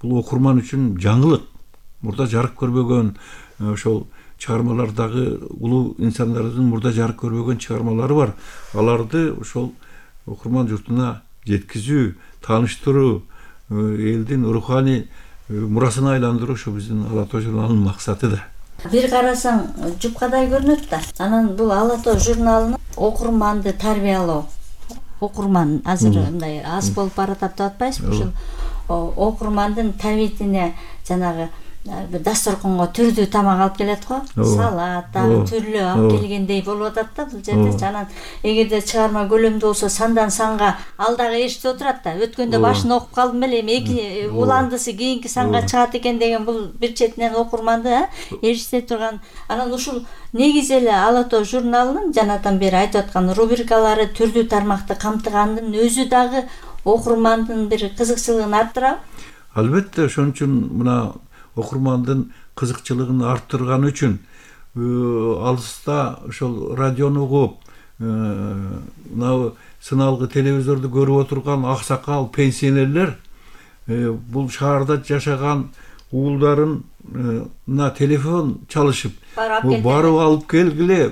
Speaker 6: Бул окурман үчүн жаңылык. Мурда жарык көрбөгөн ошол чыгармалардагы улуу инсандардын мурда жарык көрбөгөн чыгармалары бар. Аларды ошол окурман журтуна жеткизүү, тааныштыруу, элдин руханий мурасына айландыруу ушу биздин Ала тоо журналынын максаты да.
Speaker 5: Бир карасаң жупкадай көрүнөт да. Анан бул Ала тоо журналынын окурманды тарбиялоо, окурман азыр мындай аз болуп баратат деп атпайсызбы? Ушул окурмандын табитине жанагы дасторконго түрдүү тамак алып келет го, салат, дагы түрлүү алып келгендей болуп атат да бул жерде. Анан эгерде чыгарма көлөмдүү болсо сандан санга ал дагы эшитип отурат да. Өткөндө башын окуп калдым эле, эми эки уландысы кийинки санга чыгат экен деген бул бир четинен окурманды эшите турган. Анан ушул негизи эле Ала тоо журналынын жанатан бери айтып аткан рубрикалары түрдүү тармакты камтыгандын өзү дагы окурмандын бир кызыкчылыгын арттырабы?
Speaker 6: Албетте, ошон үчүн мына окурмандын кызыкчылыгын арттырган үчүн алыста ошол радиону угуп, мына сыналгы телевизорду көрүп отурган аксакал пенсионерлер бул шаарда жашаган уулдарына телефон чалышып, барып алып келгиле,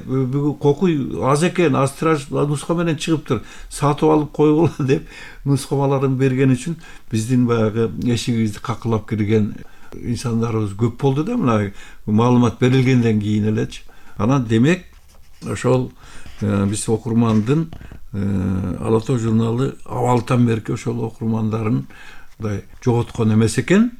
Speaker 6: кокуй аз экен, аз тираж нуска менен чыгыптыр, сатып алып койгула деп нускамаларын берген үчүн биздин баягы эшигибизди какылап кирген инсандарыбыз көп болду да, мына маалымат берилгенден кийин элечи. Анан демек ошол биз окурмандын Ала тоо журналы абалдан берки ошол окурмандарын мындай жоготкон эмес экен.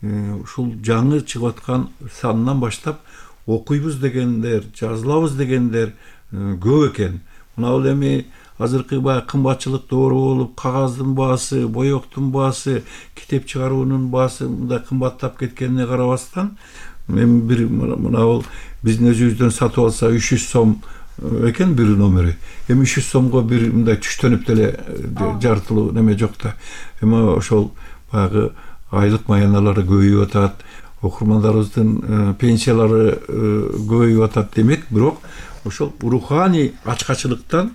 Speaker 6: Ушул жаңы чыгып аткан санынан баштап окуйбуз дегендер, жазылабыз дегендер көп экен. Мына бул эми азыркы баягы кымбатчылык доору болуп, кагаздын баасы, боектун баасы, китеп чыгаруунун баасы мындай кымбаттап кеткенине карабастан, эми бир мына бул биздин өзүбүздөн сатып алса үч жүз сом экен бир номери. Эми үч жүз сомго бир мындай түштөнүп деле жартылуу неме жок да. Эми ошол баягы айлык маяналары көбөйүп атат, окурмандарыбыздын пенсиялары көбөйүп атат демек, бирок ошол руханий ачкачылыктан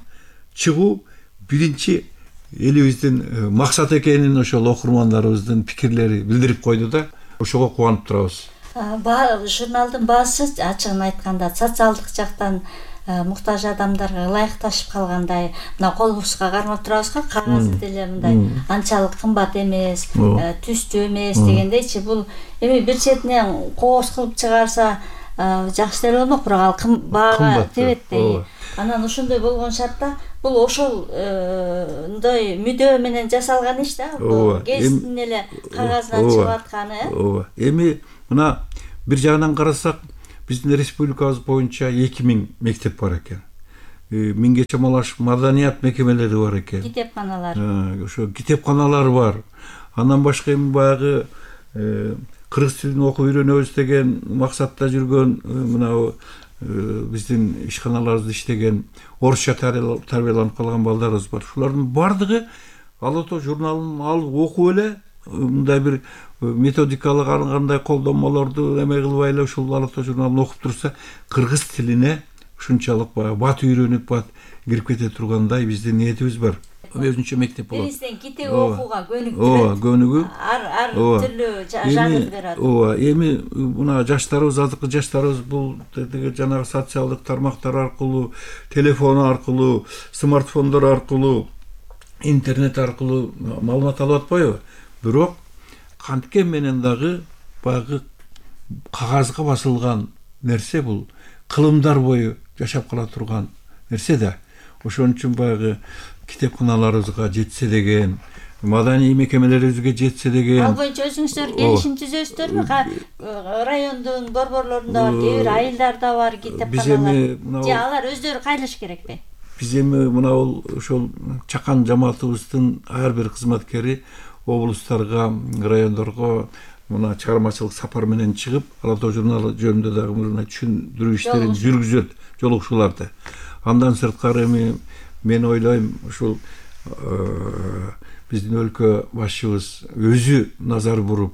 Speaker 6: чыгуу биринчи элибиздин максат экенин ошол окурмандарыбыздын пикирлери билдирип койду да. Ошого кубанып турабыз.
Speaker 5: Журналдын баасы ачыгын айтканда социалдык жактан муктаж адамдарга ылайыкташып калгандай, мына колубузга кармап турабыз го, кагазы деле мындай анчалык кымбат эмес, түстүү эмес дегендейчи. Бул эми бир четинен кооз кылып чыгарса жакшы деле болмок, бирок ал баага тебет дейи. Анан ошондой болгон шартта бул ошолдой мүдөө менен жасалган иш да, гездин эле кагазынан чыгып атканы.
Speaker 6: Ооба. Эми мына бир жагынан карасак, биздин республикабыз боюнча эки миң мектеп бар экен. Миңге чамалаш маданият мекемелери бар экен.
Speaker 5: Китепканалар.
Speaker 6: Ошо китепканалар бар. Андан башка эми баягы кыргыз тилин окуп үйрөнөбүз деген максатта жүргөн мына биздин ишканаларыбызда иштеген орусча тарбияланып калган балдарыбыз бар. Шулардын бардыгы Ала Тоо журналын алып окуп эле мындай бир методикалык ар кандай колдонмолорду эме кылбай эле ушул Ала Тоо журналын окуп турса, кыргыз тилине ушунчалык баягы бат үйрөнүп, бат кирип кете тургандай биздин ниетибиз бар. Өзүнчө мектеп болот.
Speaker 5: Биздин китеп окууга көнүктүрөт.
Speaker 6: Ооба, көнүгүү.
Speaker 5: Ар ар түрлүү жагат берет.
Speaker 6: Ооба, эми мына жаштарыбыз, азыркы жаштарыбыз бул жанагы социалдык тармактар аркылуу, телефон аркылуу, смартфондор аркылуу, интернет аркылуу маалымат алып атпайбы? Бирок канткен менен дагы баягы кагазга басылган нерсе бул кылымдар бою жашап кала турган нерсе да. Ошон үчүн баягы китепканаларыбызга жетсе деген, маданий мекемелерибизге жетсе деген.
Speaker 5: Ал боюнча өзүңүздөр келишим түзөсүздөрбү? Райондун борборлорунда бар, кээ бир айылдарда бар китепканалар. Же алар өздөрү кайрылыш керекпи?
Speaker 6: Биз эми мына ошол чакан жамаатыбыздын ар бир кызматкери облустарга, райондорго мына чыгармачылык сапар менен чыгып, Ала Тоо журналы жөнүндө дагы мына түшүндүрүү иштерин жүргүзөт, жолугушууларды. Андан сырткары эми мен ойлойм, ушул биздин өлкө башчыбыз өзү назар буруп,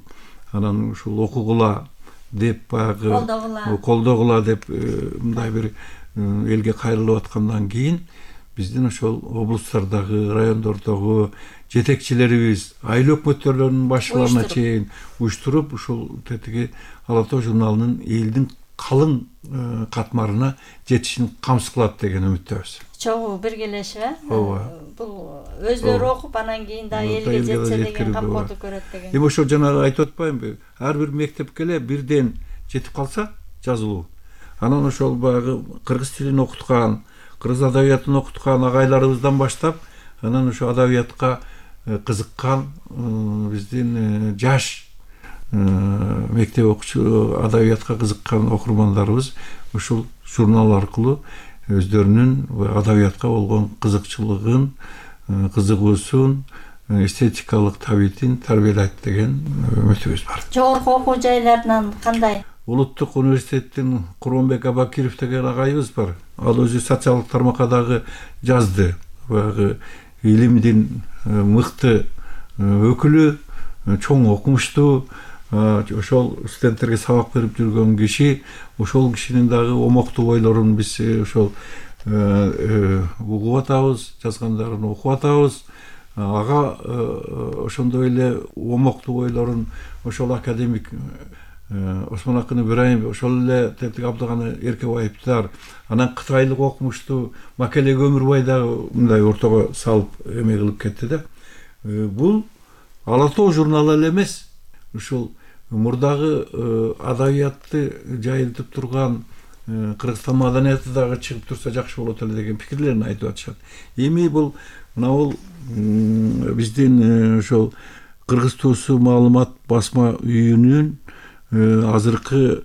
Speaker 6: анан ушул окугула деп баягы колдогула деп мындай бир элге кайрылып аткандан кийин биздин ошол облустардагы, райондордогу жетекчилерибиз, айыл өкмөттөрүнүн башчыларына чейин уюштуруп, ушул тетиги Ала Тоо журналынын элдин калың катмарына жетишин камсыз кылат деген үмүттөбүз.
Speaker 5: Чогуу биргелешип, бул өздөрү окуп, анан кийин да элге жетсе деген камкордук көрөт деген.
Speaker 6: Эми ошо жана айтып атпаймынбы? Ар бир мектепке эле бирден жетип калса жазылуу. Анан ошол баягы кыргыз тилин окуткан, кыргыз адабиятын окуткан агайларыбыздан баштап, анан ошо адабиятка кызыккан биздин жаш мектеп окуучу, адабиятка кызыккан окурмандарыбыз ушул журнал аркылуу өздөрүнүн адабиятка болгон кызыкчылыгын, кызыгуусун, эстетикалык табитин тарбиялайт деген үмүтүбүз бар.
Speaker 5: Жогорку окуу жайларынан кандай?
Speaker 6: Улуттук университеттин Курманбек Абакиров деген агайыбыз бар. Ал өзү социалдык тармакка дагы жазды. Баягы илимдин мыкты өкүлү, чоң окумуштуу, ошол студенттерге сабак берип жүргөн киши. Ошол кишинин дагы омоктуу ойлорун биз ошол угуп атабыз, жазгандарын окуп атабыз. Ага ошондой эле омоктуу ойлорун ошол академик Осмон Акын Ибраимов, ошол эле Тетик Абдыганы Эркебаевдер, анан кытайлык окумуштуу Макеле Өмүрбай дагы мындай ортого салып эме кылып кетти да. Бул Ала Тоо журналы эле эмес, ушул мурдагы адабиятты жайылтып турган Кыргызстан маданияты дагы чыгып турса жакшы болот эле деген пикирлерин айтып атышат. Эми бул мына бул биздин ошол Кыргыз Туусу маалымат басма үйүнүн азыркы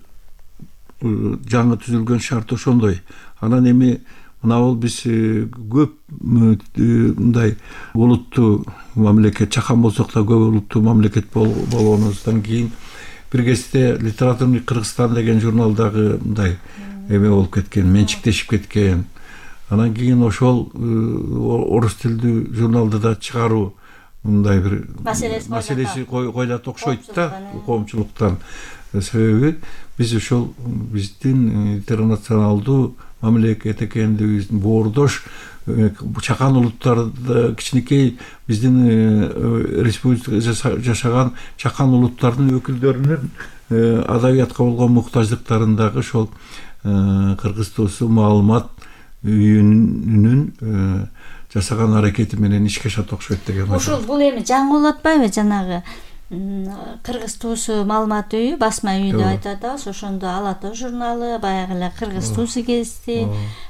Speaker 6: жаңы түзүлгөн шарты ошондой. Анан эми мына бул биз көп мындай улуттуу мамлекет, чакан болсок да көп улуттуу мамлекет болгонубуздан кийин бир кезде Литературный Кыргызстан деген журналдагы мындай эме болуп кеткен, менчиктешип кеткен. Анан кийин ошол орус тилдүү журналды да чыгаруу мындай бир маселеси койлот окшойт да коомчулуктан. Себеби биз ошол биздин интернационалдуу мамлекет экендигибиздин боордош чакан улуттарды, кичинекей биздин республикада жашаган чакан улуттардын өкүлдөрүнүн адабиятка болгон муктаждыктарын дагы ошол Кыргыз Туусу маалымат үйүнүн жасаган аракети менен ишке ашат окшойт деген.
Speaker 5: Ошол бул эми жаңы болуп атпайбы? Жанагы кыргыз туусу маалымат үйү, басма үйү деп айтып атабыз. Ошондо Ала Тоо журналы, баягы эле кыргыз туусу гезити,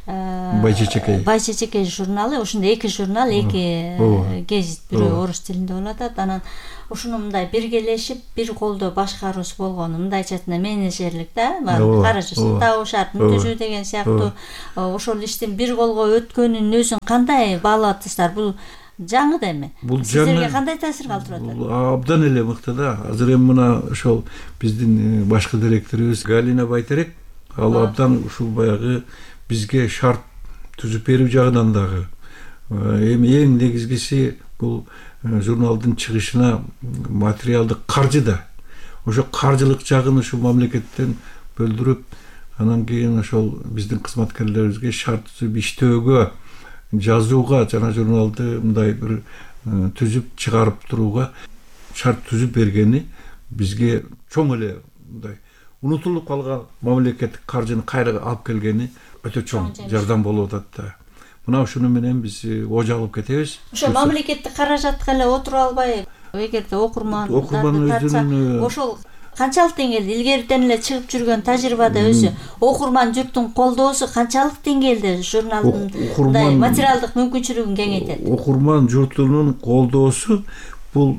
Speaker 6: Байчечекей
Speaker 5: Байчечекей журналы, ошондо эки журнал, эки гезит, бирөө орус тилинде болуп атат. Анан ушуну мындай биргелешип, бир колдо башкаруусу болгону, мындайча айтканда менеджерлик да, каражысын табуу шартын түзүү деген сыяктуу ошол иштин бир колго өткөнүнүн өзүн кандай баалап атасыздар? Бул жаңы да эми. Сиздерге кандай таасир калтырып атат?
Speaker 6: Бул абдан эле мыкты да. Азыр эми мына ошол биздин башкы директорубуз Галина Байтерек, ал абдан ушул баягы бизге шарт түзүп берүү жагынан дагы эми эң негизгиси бул журналдын чыгышына материалдык каржы да. Ошо каржылык жагын ушул мамлекеттен бөлдүрүп, анан кийин ошол биздин кызматкерлерибизге шарт түзүп иштөөгө, жазууга, жана журналды мындай бир түзүп чыгарып турууга шарт түзүп бергени бизге чоң эле мындай унутулуп калган мамлекеттик каржыны кайра алып келгени өтө чоң жардам болуп атат да. Мына ушуну менен биз ожа алып кетебиз.
Speaker 5: Ошо мамлекеттик каражатка эле отуруп албай, эгерде окурмандарды тартса, ошол канчалык деңгээлде илгериден эле чыгып жүргөн тажрыйбада өзү окурман журттун колдоосу канчалык деңгээлде журналдын мындай материалдык мүмкүнчүлүгүн кеңейтет?
Speaker 6: Окурман журтунун колдоосу бул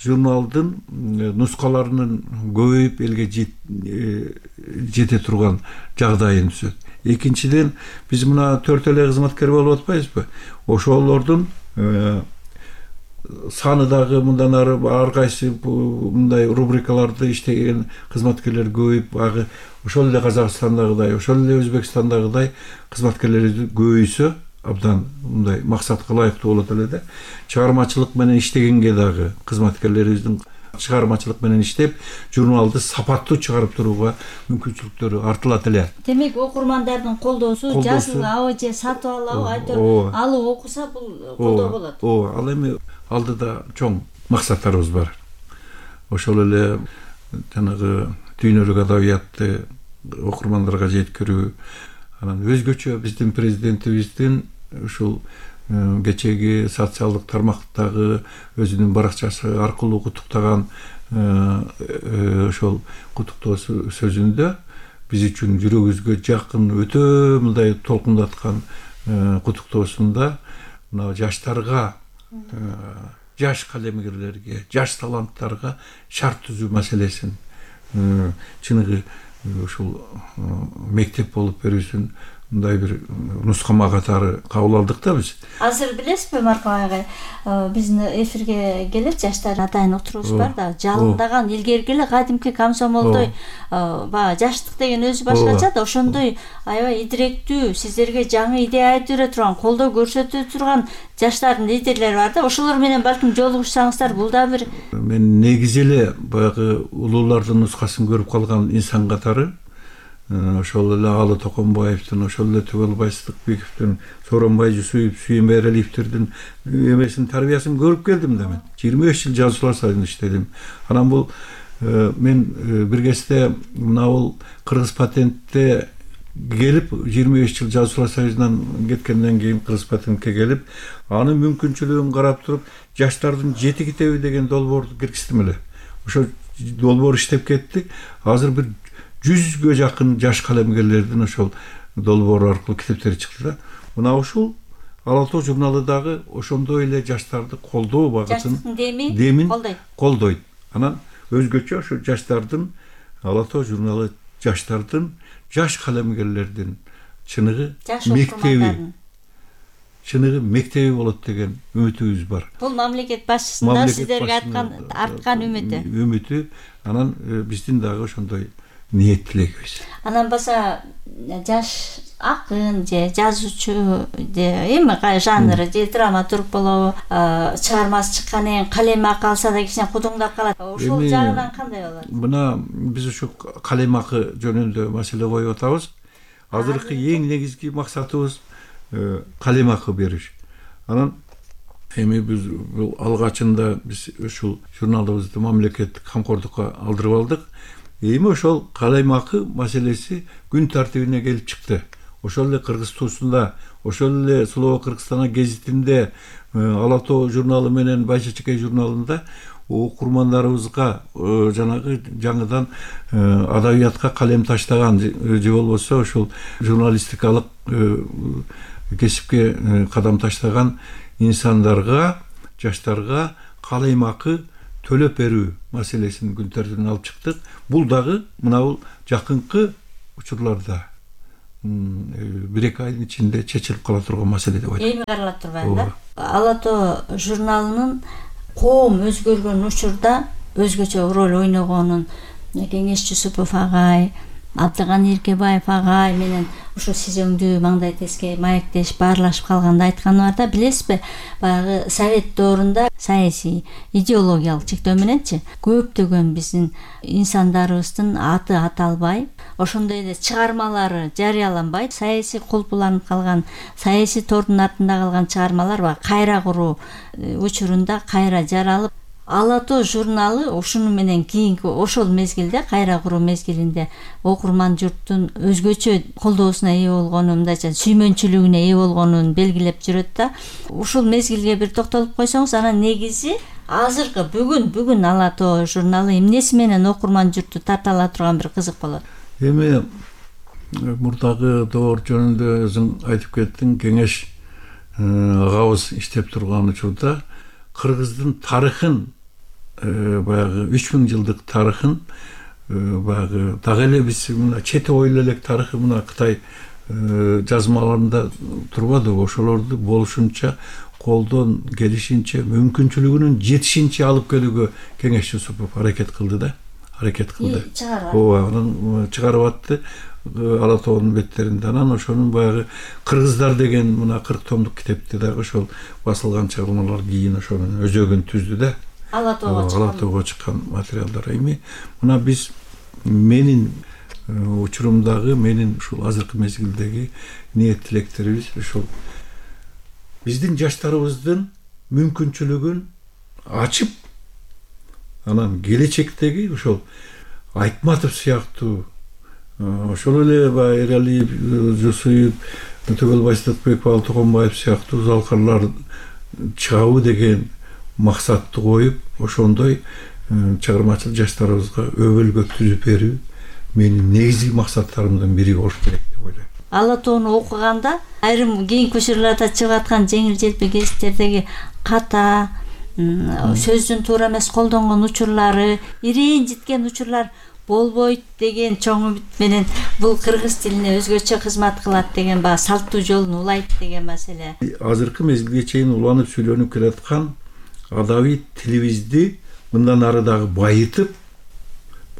Speaker 6: журналдын нускаларынын көбөйүп элге жете турган жагдайын түзөт. Экинчиден, биз мына төрт эле кызматкер болуп атпайбызбы? Ошолордун саны дагы мындан ары ар кайсы мындай рубрикаларды иштеген кызматкерлер көбөйүп, агы ошол эле Казакстандагыдай, ошол эле Өзбекстандагыдай кызматкерлерибиз көбөйсө, абдан мындай максатка ылайыктуу болот эле да. Чыгармачылык менен иштегенге дагы кызматкерлерибиздин чыгармачылык менен иштеп, журналды сапаттуу чыгарып турууга мүмкүнчүлүктөрү артылат эле.
Speaker 5: Демек, окурмандардын колдоосу жазылабы же сатып алабы, айтор алып окуса бул колдоо болот.
Speaker 6: Ооба, ал эми алдыда чоң максаттарыбыз бар. Ошол эле жанагы дүйнөлүк адабиятты окурмандарга жеткирүү, анан өзгөчө биздин президентибиздин ушул кечеги социалдык тармактагы өзүнүн баракчасы аркылуу куттуктаган ошол куттуктоо сөзүндө биз үчүн жүрөгүбүзгө жакын, өтө мындай толкундаткан куттуктоосунда мына жаштарга, жаш калемгерлерге, жаш таланттарга шарт түзүү маселесин чыныгы ушул мектеп болуп берүүсүн мындай бир нускама катары кабыл алдык да биз.
Speaker 5: Азыр билесизби, Марков агай, биздин эфирге келип жаштар атайын отурубуз бар да, жалындаган илгерки эле кадимки комсомолдой баягы жаштык деген өзү башкача да, ошондой аябай идиректүү, сиздерге жаңы идея айтып бере турган, колдоо көрсөтө турган жаштардын лидерлери бар да, ошолор менен балким жолугушсаңыздар, бул да бир.
Speaker 6: Мен негизи эле баягы улуулардын нускасын көрүп калган инсан катары ошол эле Алы Токонбаевдин, ошол эле Түгөлбай Сыдыкбековдун, Сооронбай Жусуев, Сүйүн Эливтердин эмесин, тарбиясын көрүп келдим да мен. жыйырма беш жыл жазуучулар союзунда иштедим. Анан бул мен бир кезде мына бул Кыргыз патентте келип, жыйырма беш жыл жазуучулар союзунан кеткенден кийин Кыргыз патентке келип, анын мүмкүнчүлүгүн карап туруп, жаштардын жети китеби деген долбоорду киргиздим эле. Ошо долбоор иштеп кетти. Азыр бир жүзгө жакын жаш калемгерлердин ошол долбоор аркылуу китептери чыкты да. Мына ушул Ала Тоо журналы дагы ошондой эле жаштарды колдоо багытын демин колдойт. Анан өзгөчө ошо жаштардын Ала Тоо журналы жаштардын, жаш калемгерлердин чыныгы мектеби, чыныгы мектеби болот деген үмүтүбүз бар.
Speaker 5: Бул мамлекет башчысында сиздерге арткан арткан үмүтү.
Speaker 6: Үмүтү, анан биздин дагы ошондой ниет тилегибиз.
Speaker 5: Анан баса жаш акын же жазуучу же эми кай жанры же драматург болобу, чыгармасы чыккандан кийин калем акы алса да кичине кудуңдап калат. Ошол жагынан кандай болот?
Speaker 6: Мына биз ушу калем акы жөнүндө маселе коюп атабыз. Азыркы эң негизги максатыбыз калем акы бериш. Анан эми биз бул алгачында биз ушул журналыбызды мамлекеттик камкордукка алдырып алдык. Эми ошол калем акы маселеси күн тартибине келип чыкты. ошол эле Кыргыз туусунда, ошол эле Слово Кыргызстана гезитинде, Ала Тоо журналы менен Байча Чекей журналында окурмандарыбызга жанагы жаңыдан адабиятка калем таштаган же болбосо ошол журналистикалык кесипке кадам таштаган инсандарга, жаштарга калемакы төлөп берүү маселесин күн тартибине алып чыктык. Бул дагы мына жакынкы учурларда бир эки айдын ичинде чечилип кала турган маселе деп ойлойм.
Speaker 5: Эми карала турбайм да. Ала Тоо журналынын коом өзгөргөн учурда өзгөчө роль ойногонун Кеңеш Жусупов агай, Абдыганы Иркебаев агай менен ушул сизөңдүү маңдай теске маектешип баарлашып калганда айтканы бар да, билесизби, баягы Совет доорунда саясий идеологиялык чектөө мененчи көптөгөн биздин инсандарыбыздын аты аталбай, ошондой эле чыгармалары жарыяланбай, саясий колпуланып калган, саясий тордун артында калган чыгармалар бар. Кайра куруу учурунда кайра жаралып, Ала Тоо журналы ушуну менен кийинки ошол мезгилде, кайра куруу мезгилинде окурман журттун өзгөчө колдоосуна ээ болгону, мындайча сүймөнчүлүгүнө ээ болгонун белгилеп жүрөт да. Ушул мезгилге бир токтолуп койсоңуз, анан негизи азыркы бүгүн бүгүн Ала Тоо журналы эмнеси менен окурман журтту тарта ала турган бир кызык болот.
Speaker 6: Эми мурдагы доор жөнүндө өзүң айтып кеттиң. Кеңеш агабыз иштеп турган учурда Кыргыздын тарыхын, баягы үч миң жылдык тарыхын, баягы дагы эле биз мына чете ойло элек тарыхы мына Кытай жазмаларында турбадыбы, ошолорду болушунча колдон келишинче, мүмкүнчүлүгүнүн жетишинче алып келүүгө Кеңеш Жусупов аракет кылды да, аракет кылды. Ооба, анан чыгарып атты Ала Тоонун беттеринде. Анан ошонун баягы Кыргыздар деген мына кырк томдук китепти дагы ошол басылган чыгармалар кийин ошонун өзөгүн түздү да.
Speaker 5: Ала
Speaker 6: Тоого чыккан материалдар. Эми мына биз менин учурумдагы, менин ушул азыркы мезгилдеги ниет тилектерибиз ушул биздин жаштарыбыздын мүмкүнчүлүгүн ачып, анан келечектеги ошол Айтматов сыяктуу, ошол эле баягы Эралиев, Жусуев, Төкөл Байсатбеков, Алтыгонбаев сыяктуу залкарлар чыгабы деген максатты коюп, ошондой чыгармачыл жаштарыбызга өбөлгө түзүп берүү менин негизги максаттарымдын бири болуш керек деп ойлойм.
Speaker 5: Ала Тоону окуганда айрым кийинки учурларда чыгып аткан жеңил желпи гезиттердеги ката, сөздүн туура эмес колдонгон учурлары, ирээн житкен учурлар болбойт деген чоң үмүт менен бул кыргыз тилине өзгөчө кызмат кылат деген баягы салттуу жолун улайт деген маселе.
Speaker 6: Азыркы мезгилге чейин уланып сүйлөнүп келаткан адабий тилибизди мындан ары дагы байытып,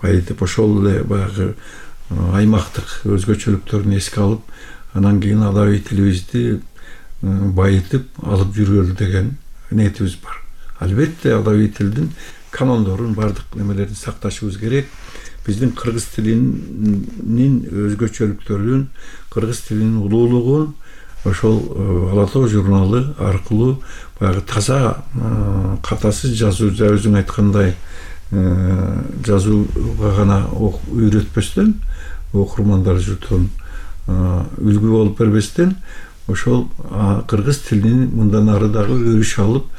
Speaker 6: байытып ошол эле баягы аймактык өзгөчөлүктөрүн эске алып, анан кийин адабий тилибизди байытып алып жүргөлү деген ниетибиз бар. Албетте адабий тилдин канондорун, бардык немелерин сакташыбыз керек. Биздин кыргыз тилинин өзгөчөлүктөрүн, кыргыз тилинин улуулугун ошол Ала Тоо журналы аркылуу баягы таза, катасыз жазуу, өзүң айткандай жазууга гана үйрөтпөстөн, окурмандар журтун үлгү болуп бербестен, ошол кыргыз тилинин мындан ары дагы өрүш алып,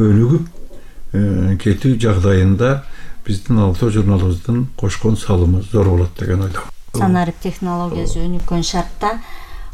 Speaker 6: өнүгүп кетүү жагдайында биздин Ала Тоо журналыбыздын кошкон салымы зор болот деген ойдомун.
Speaker 5: Санарип технологиясы өнүккөн шартта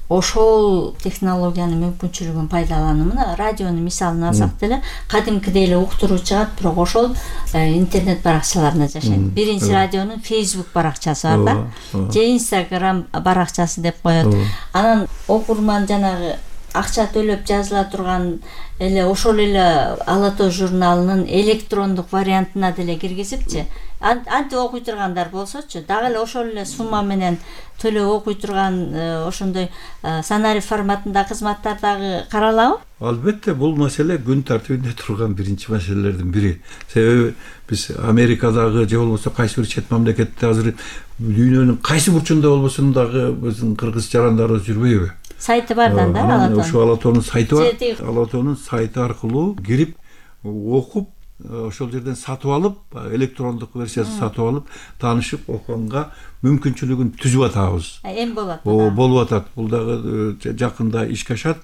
Speaker 5: ошол технологиянын мүмкүнчүлүгүн пайдаланып, мына радионун мисалын алсак деле, кадимкидей эле уктуруу чыгат, бирок ошол интернет баракчаларында жашайт. Биринчи радионун Facebook баракчасы бар да, же Instagram баракчасы деп коет. Анан окурман жанагы акча төлөп жазыла турган эле ошол эле Ала Тоо журналынын электрондук вариантына деле киргизипчи, антип окуй тургандар болсочу, дагы эле ошол эле сумма менен төлөп окуй турган ошондой санарип форматында кызматтар дагы каралабы?
Speaker 6: Албетте, бул маселе күн тартибинде турган биринчи маселелердин бири. Себеби биз Америкадагы же болбосо кайсы бир чет мамлекетте азыр дүйнөнүн кайсы бурчунда болбосун дагы биздин кыргыз жарандарыбыз жүрбөйбү?
Speaker 5: Сайты бардан да Ала Тоонун.
Speaker 6: Ошо Ала Тоонун сайты бар. Ала Тоонун сайты аркылуу кирип окуп, ошол жерден сатып алып, электрондук версиясын сатып алып, таанышып окуганга мүмкүнчүлүгүн түзүп атабыз.
Speaker 5: Эми болот.
Speaker 6: О, болуп атат. Бул дагы жакында ишке ашат.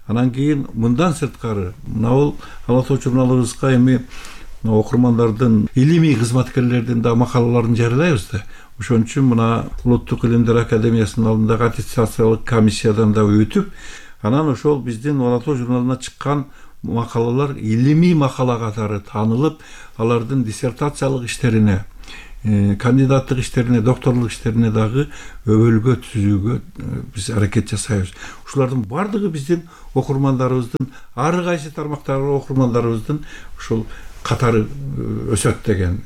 Speaker 6: Анан кийин мындан сырткары мына бул Ала Тоо журналыбызга эми окурмандардын, илимий кызматкерлердин да макалаларын жарыялайбыз да. Ошон үчүн мына Улуттук илимдер академиясынын алдындагы аттестациялык комиссиядан да өтүп, анан ошол биздин Ала Тоо журналына чыккан макалалар илимий макала катары таанылып, алардын диссертациялык иштерине, кандидаттык иштерине, докторлук иштерине дагы өбөлгө түзүүгө биз аракет жасайбыз. Ушулардын бардыгы биздин окурмандарыбыздын, ар кайсы тармактагы окурмандарыбыздын ушул катары өсөт деген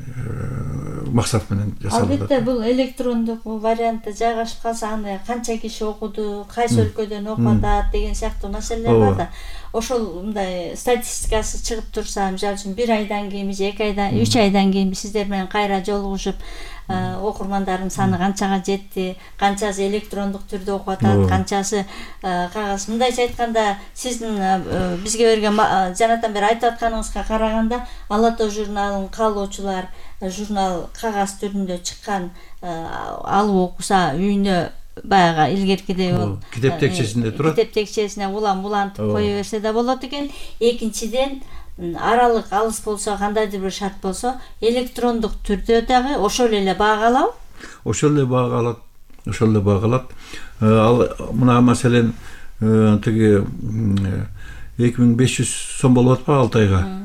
Speaker 6: максат менен жасалды.
Speaker 5: Албетте бул электрондук вариантта жайгашып калса аны канча киши окуду, кайсы өлкөдөн окуп атат деген сыяктуу маселелер бар да. Ошол мындай статистикасы чыгып турса, мисалы үчүн бир айдан кийин же эки айдан, үч айдан кийин сиздер менен кайра жолугушуп, окурмандардын саны канчага жетти, канчасы электрондук түрдө окуп атат, канчасы кагаз. Мындайча айтканда, сиздин бизге берген жанатан бери айтып атканыңызга караганда, Ала Тоо журналын каалоочулар журнал кагаз түрүндө чыккан алып окуса, үйүнө баягы илгеркидей бул
Speaker 6: китеп текчесинде турат.
Speaker 5: Китеп текчесине улам улантып кое берсе да болот экен. Экинчиден, аралык алыс болсо, кандайдыр бир шарт болсо, электрондук түрдө дагы ошол эле баагалабы?
Speaker 6: Ошол эле баагалат, ошол эле баагалат. Ал мына маселен тиги эки миң беш жүз сом болуп атпайбы алты айга?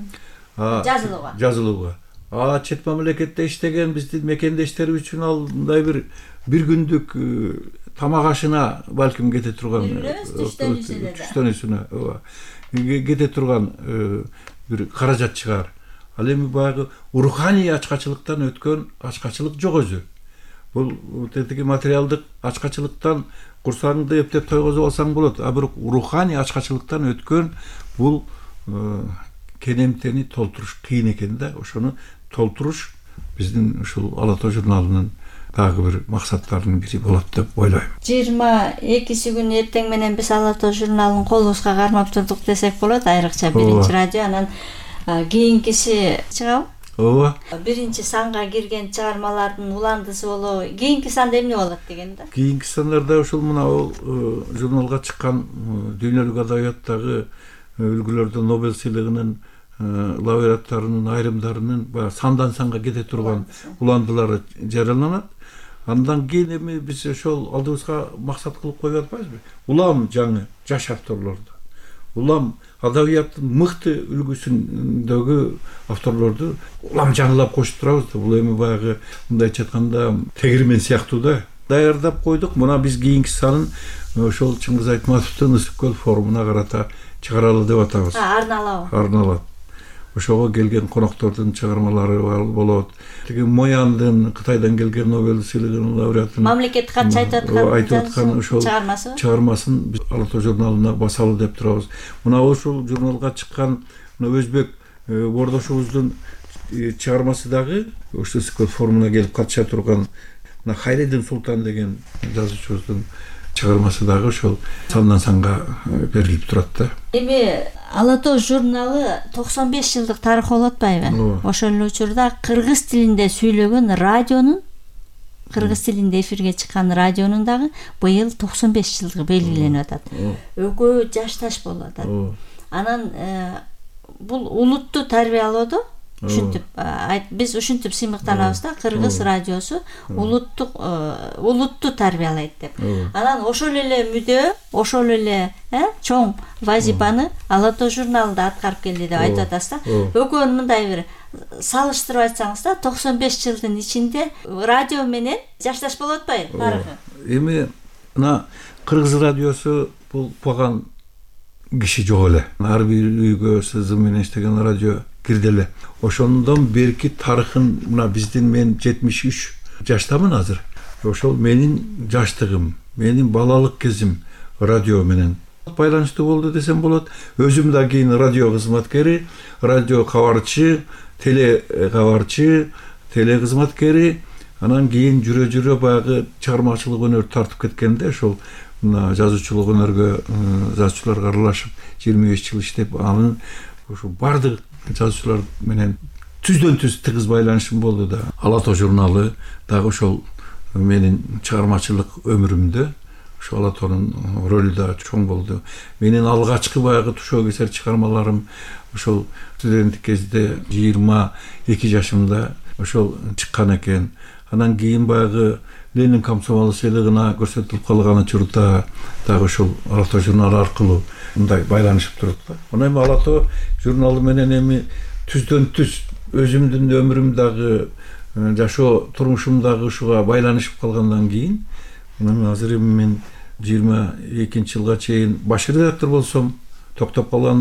Speaker 5: Жазылууга.
Speaker 6: Жазылууга. А чет мамлекетте иштеген биздин мекендештер үчүн ал мындай бир бир күндүк тамак ашына балким кете турган, түштөнүүсүнө кете турган бир каражат чыгар. Ал эми баягы руханий ачкачылыктан өткөн ачкачылык жок өзү. Бул тетиги материалдык ачкачылыктан курсагыңды эптеп тойгозуп алсаң болот, а бирок руханий ачкачылыктан өткөн бул кенемтени толтуруш кыйын экен да. Ошону толтуруш биздин ушул Ала Тоо журналынын дагы бир максаттарынын бири болот деп ойлойм.
Speaker 5: жыйырма экиси күнү эртең менен биз Ала Тоо журналын колубузга кармап турдук десек болот, айрыкча биринчи радио, анан кийинкиси чыгабы?
Speaker 6: Ооба.
Speaker 5: Биринчи санга кирген чыгармалардын уландысы болобу? Кийинки санда эмне болот деген да?
Speaker 6: Кийинки сандарда ушул мына журналга чыккан дүйнөлүк адабияттагы үлгүлөрдө Нобель сыйлыгынын лауреаттарынын айрымдарынын баягы сандан санга кете турган уландылары жарыяланат. Андан кийин эми биз ошол алдыбызга максат кылып коюп атпайбызбы? Улам жаңы жаш авторлорду, улам адабияттын мыкты үлгүсүндөгү авторлорду улам жаңылап кошуп турабыз да. Бул эми баягы мындайча айтканда тегирмен сыяктуу да. Даярдап койдук. Мына биз кийинки санын ошол Чыңгыз Айтматовдун Ысык көл форумуна карата чыгаралы деп атабыз.
Speaker 5: Арналабы?
Speaker 6: Арналат. Ошого келген коноктордун чыгармалары болот. Тиги Мояндын Кытайдан келген Нобель сыйлыгынын лауреаты
Speaker 5: мамлекет катчы айтып аткан
Speaker 6: айтып аткан ошол
Speaker 5: чыгармасы
Speaker 6: чыгармасын биз Ала Тоо журналына басалы деп турабыз. Мына ошол журналга чыккан мына өзбек бордошубуздун чыгармасы дагы ошол Ысык көл форумуна келип катыша турган мына Хайреддин Султан деген жазуучубуздун чыгармасы дагы ошол сандан санга берилип турат да.
Speaker 5: Эми Ала Тоо журналы токсон беш жылдык тарыхы болуп атпайбы? Ошол эле учурда кыргыз тилинде сүйлөгөн радионун, кыргыз тилинде эфирге чыккан радионун дагы быйыл токсон беш жылдыгы белгиленип атат. Экөө жашташ болуп атат. Анан бул улутту тарбиялоодо ушинтип биз ушинтип сыймыктанабыз да, кыргыз радиосу улуттук улутту тарбиялайт деп. Анан ошол эле мүдө, ошол эле чоң вазипаны Ала Тоо журналы да аткарып келди деп айтып атасыз да. Экөөнүн мындай бир салыштырып айтсаңыз да, токсон беш жылдын ичинде радио менен жашташ болуп атпайбы тарыхы?
Speaker 6: Эми мына кыргыз радиосу бул баган киши жок эле. Ар бир үйгө сызым менен иштеген радио кирди эле. Ошондон берки тарыхын мына биздин мен жетимиш үч жаштамын азыр. Ошол менин жаштыгым, менин балалык кезим радио менен байланыштуу болду десем болот. Өзүм да кийин радио кызматкери, радио кабарчы, теле кабарчы, теле кызматкери, анан кийин жүрө-жүрө баягы чыгармачылык өнөр тартып кеткенде ошол мына жазуучулук өнөргө жазуучуларга аралашып жыйырма беш жыл иштеп, анын ушу бардык жазуучулар менен түздөн түз тыгыз байланышым болду да. Ала тоо журналы дагы ошол менин чыгармачылык өмүрүмдө ошо Ала тоонун ролу да чоң болду. Менин алгачкы баягы тушоо кесер чыгармаларым ошол студенттик кезде жыйырма эки жашымда ошол чыккан экен. Анан кийин баягы Ленин комсомол сыйлыгына көрсөтүлүп калган учурда дагы ошол Ала тоо журналы аркылуу мындай байланышып турат да. Анан эми Ала тоо журналы менен эми түздөн түз өзүмдүн өмүрүм дагы жашоо турмушум дагы ушуга байланышып калгандан кийин мына азыр эми мен жыйырма экинчи жылга чейин баш редактор болсом токтоп калган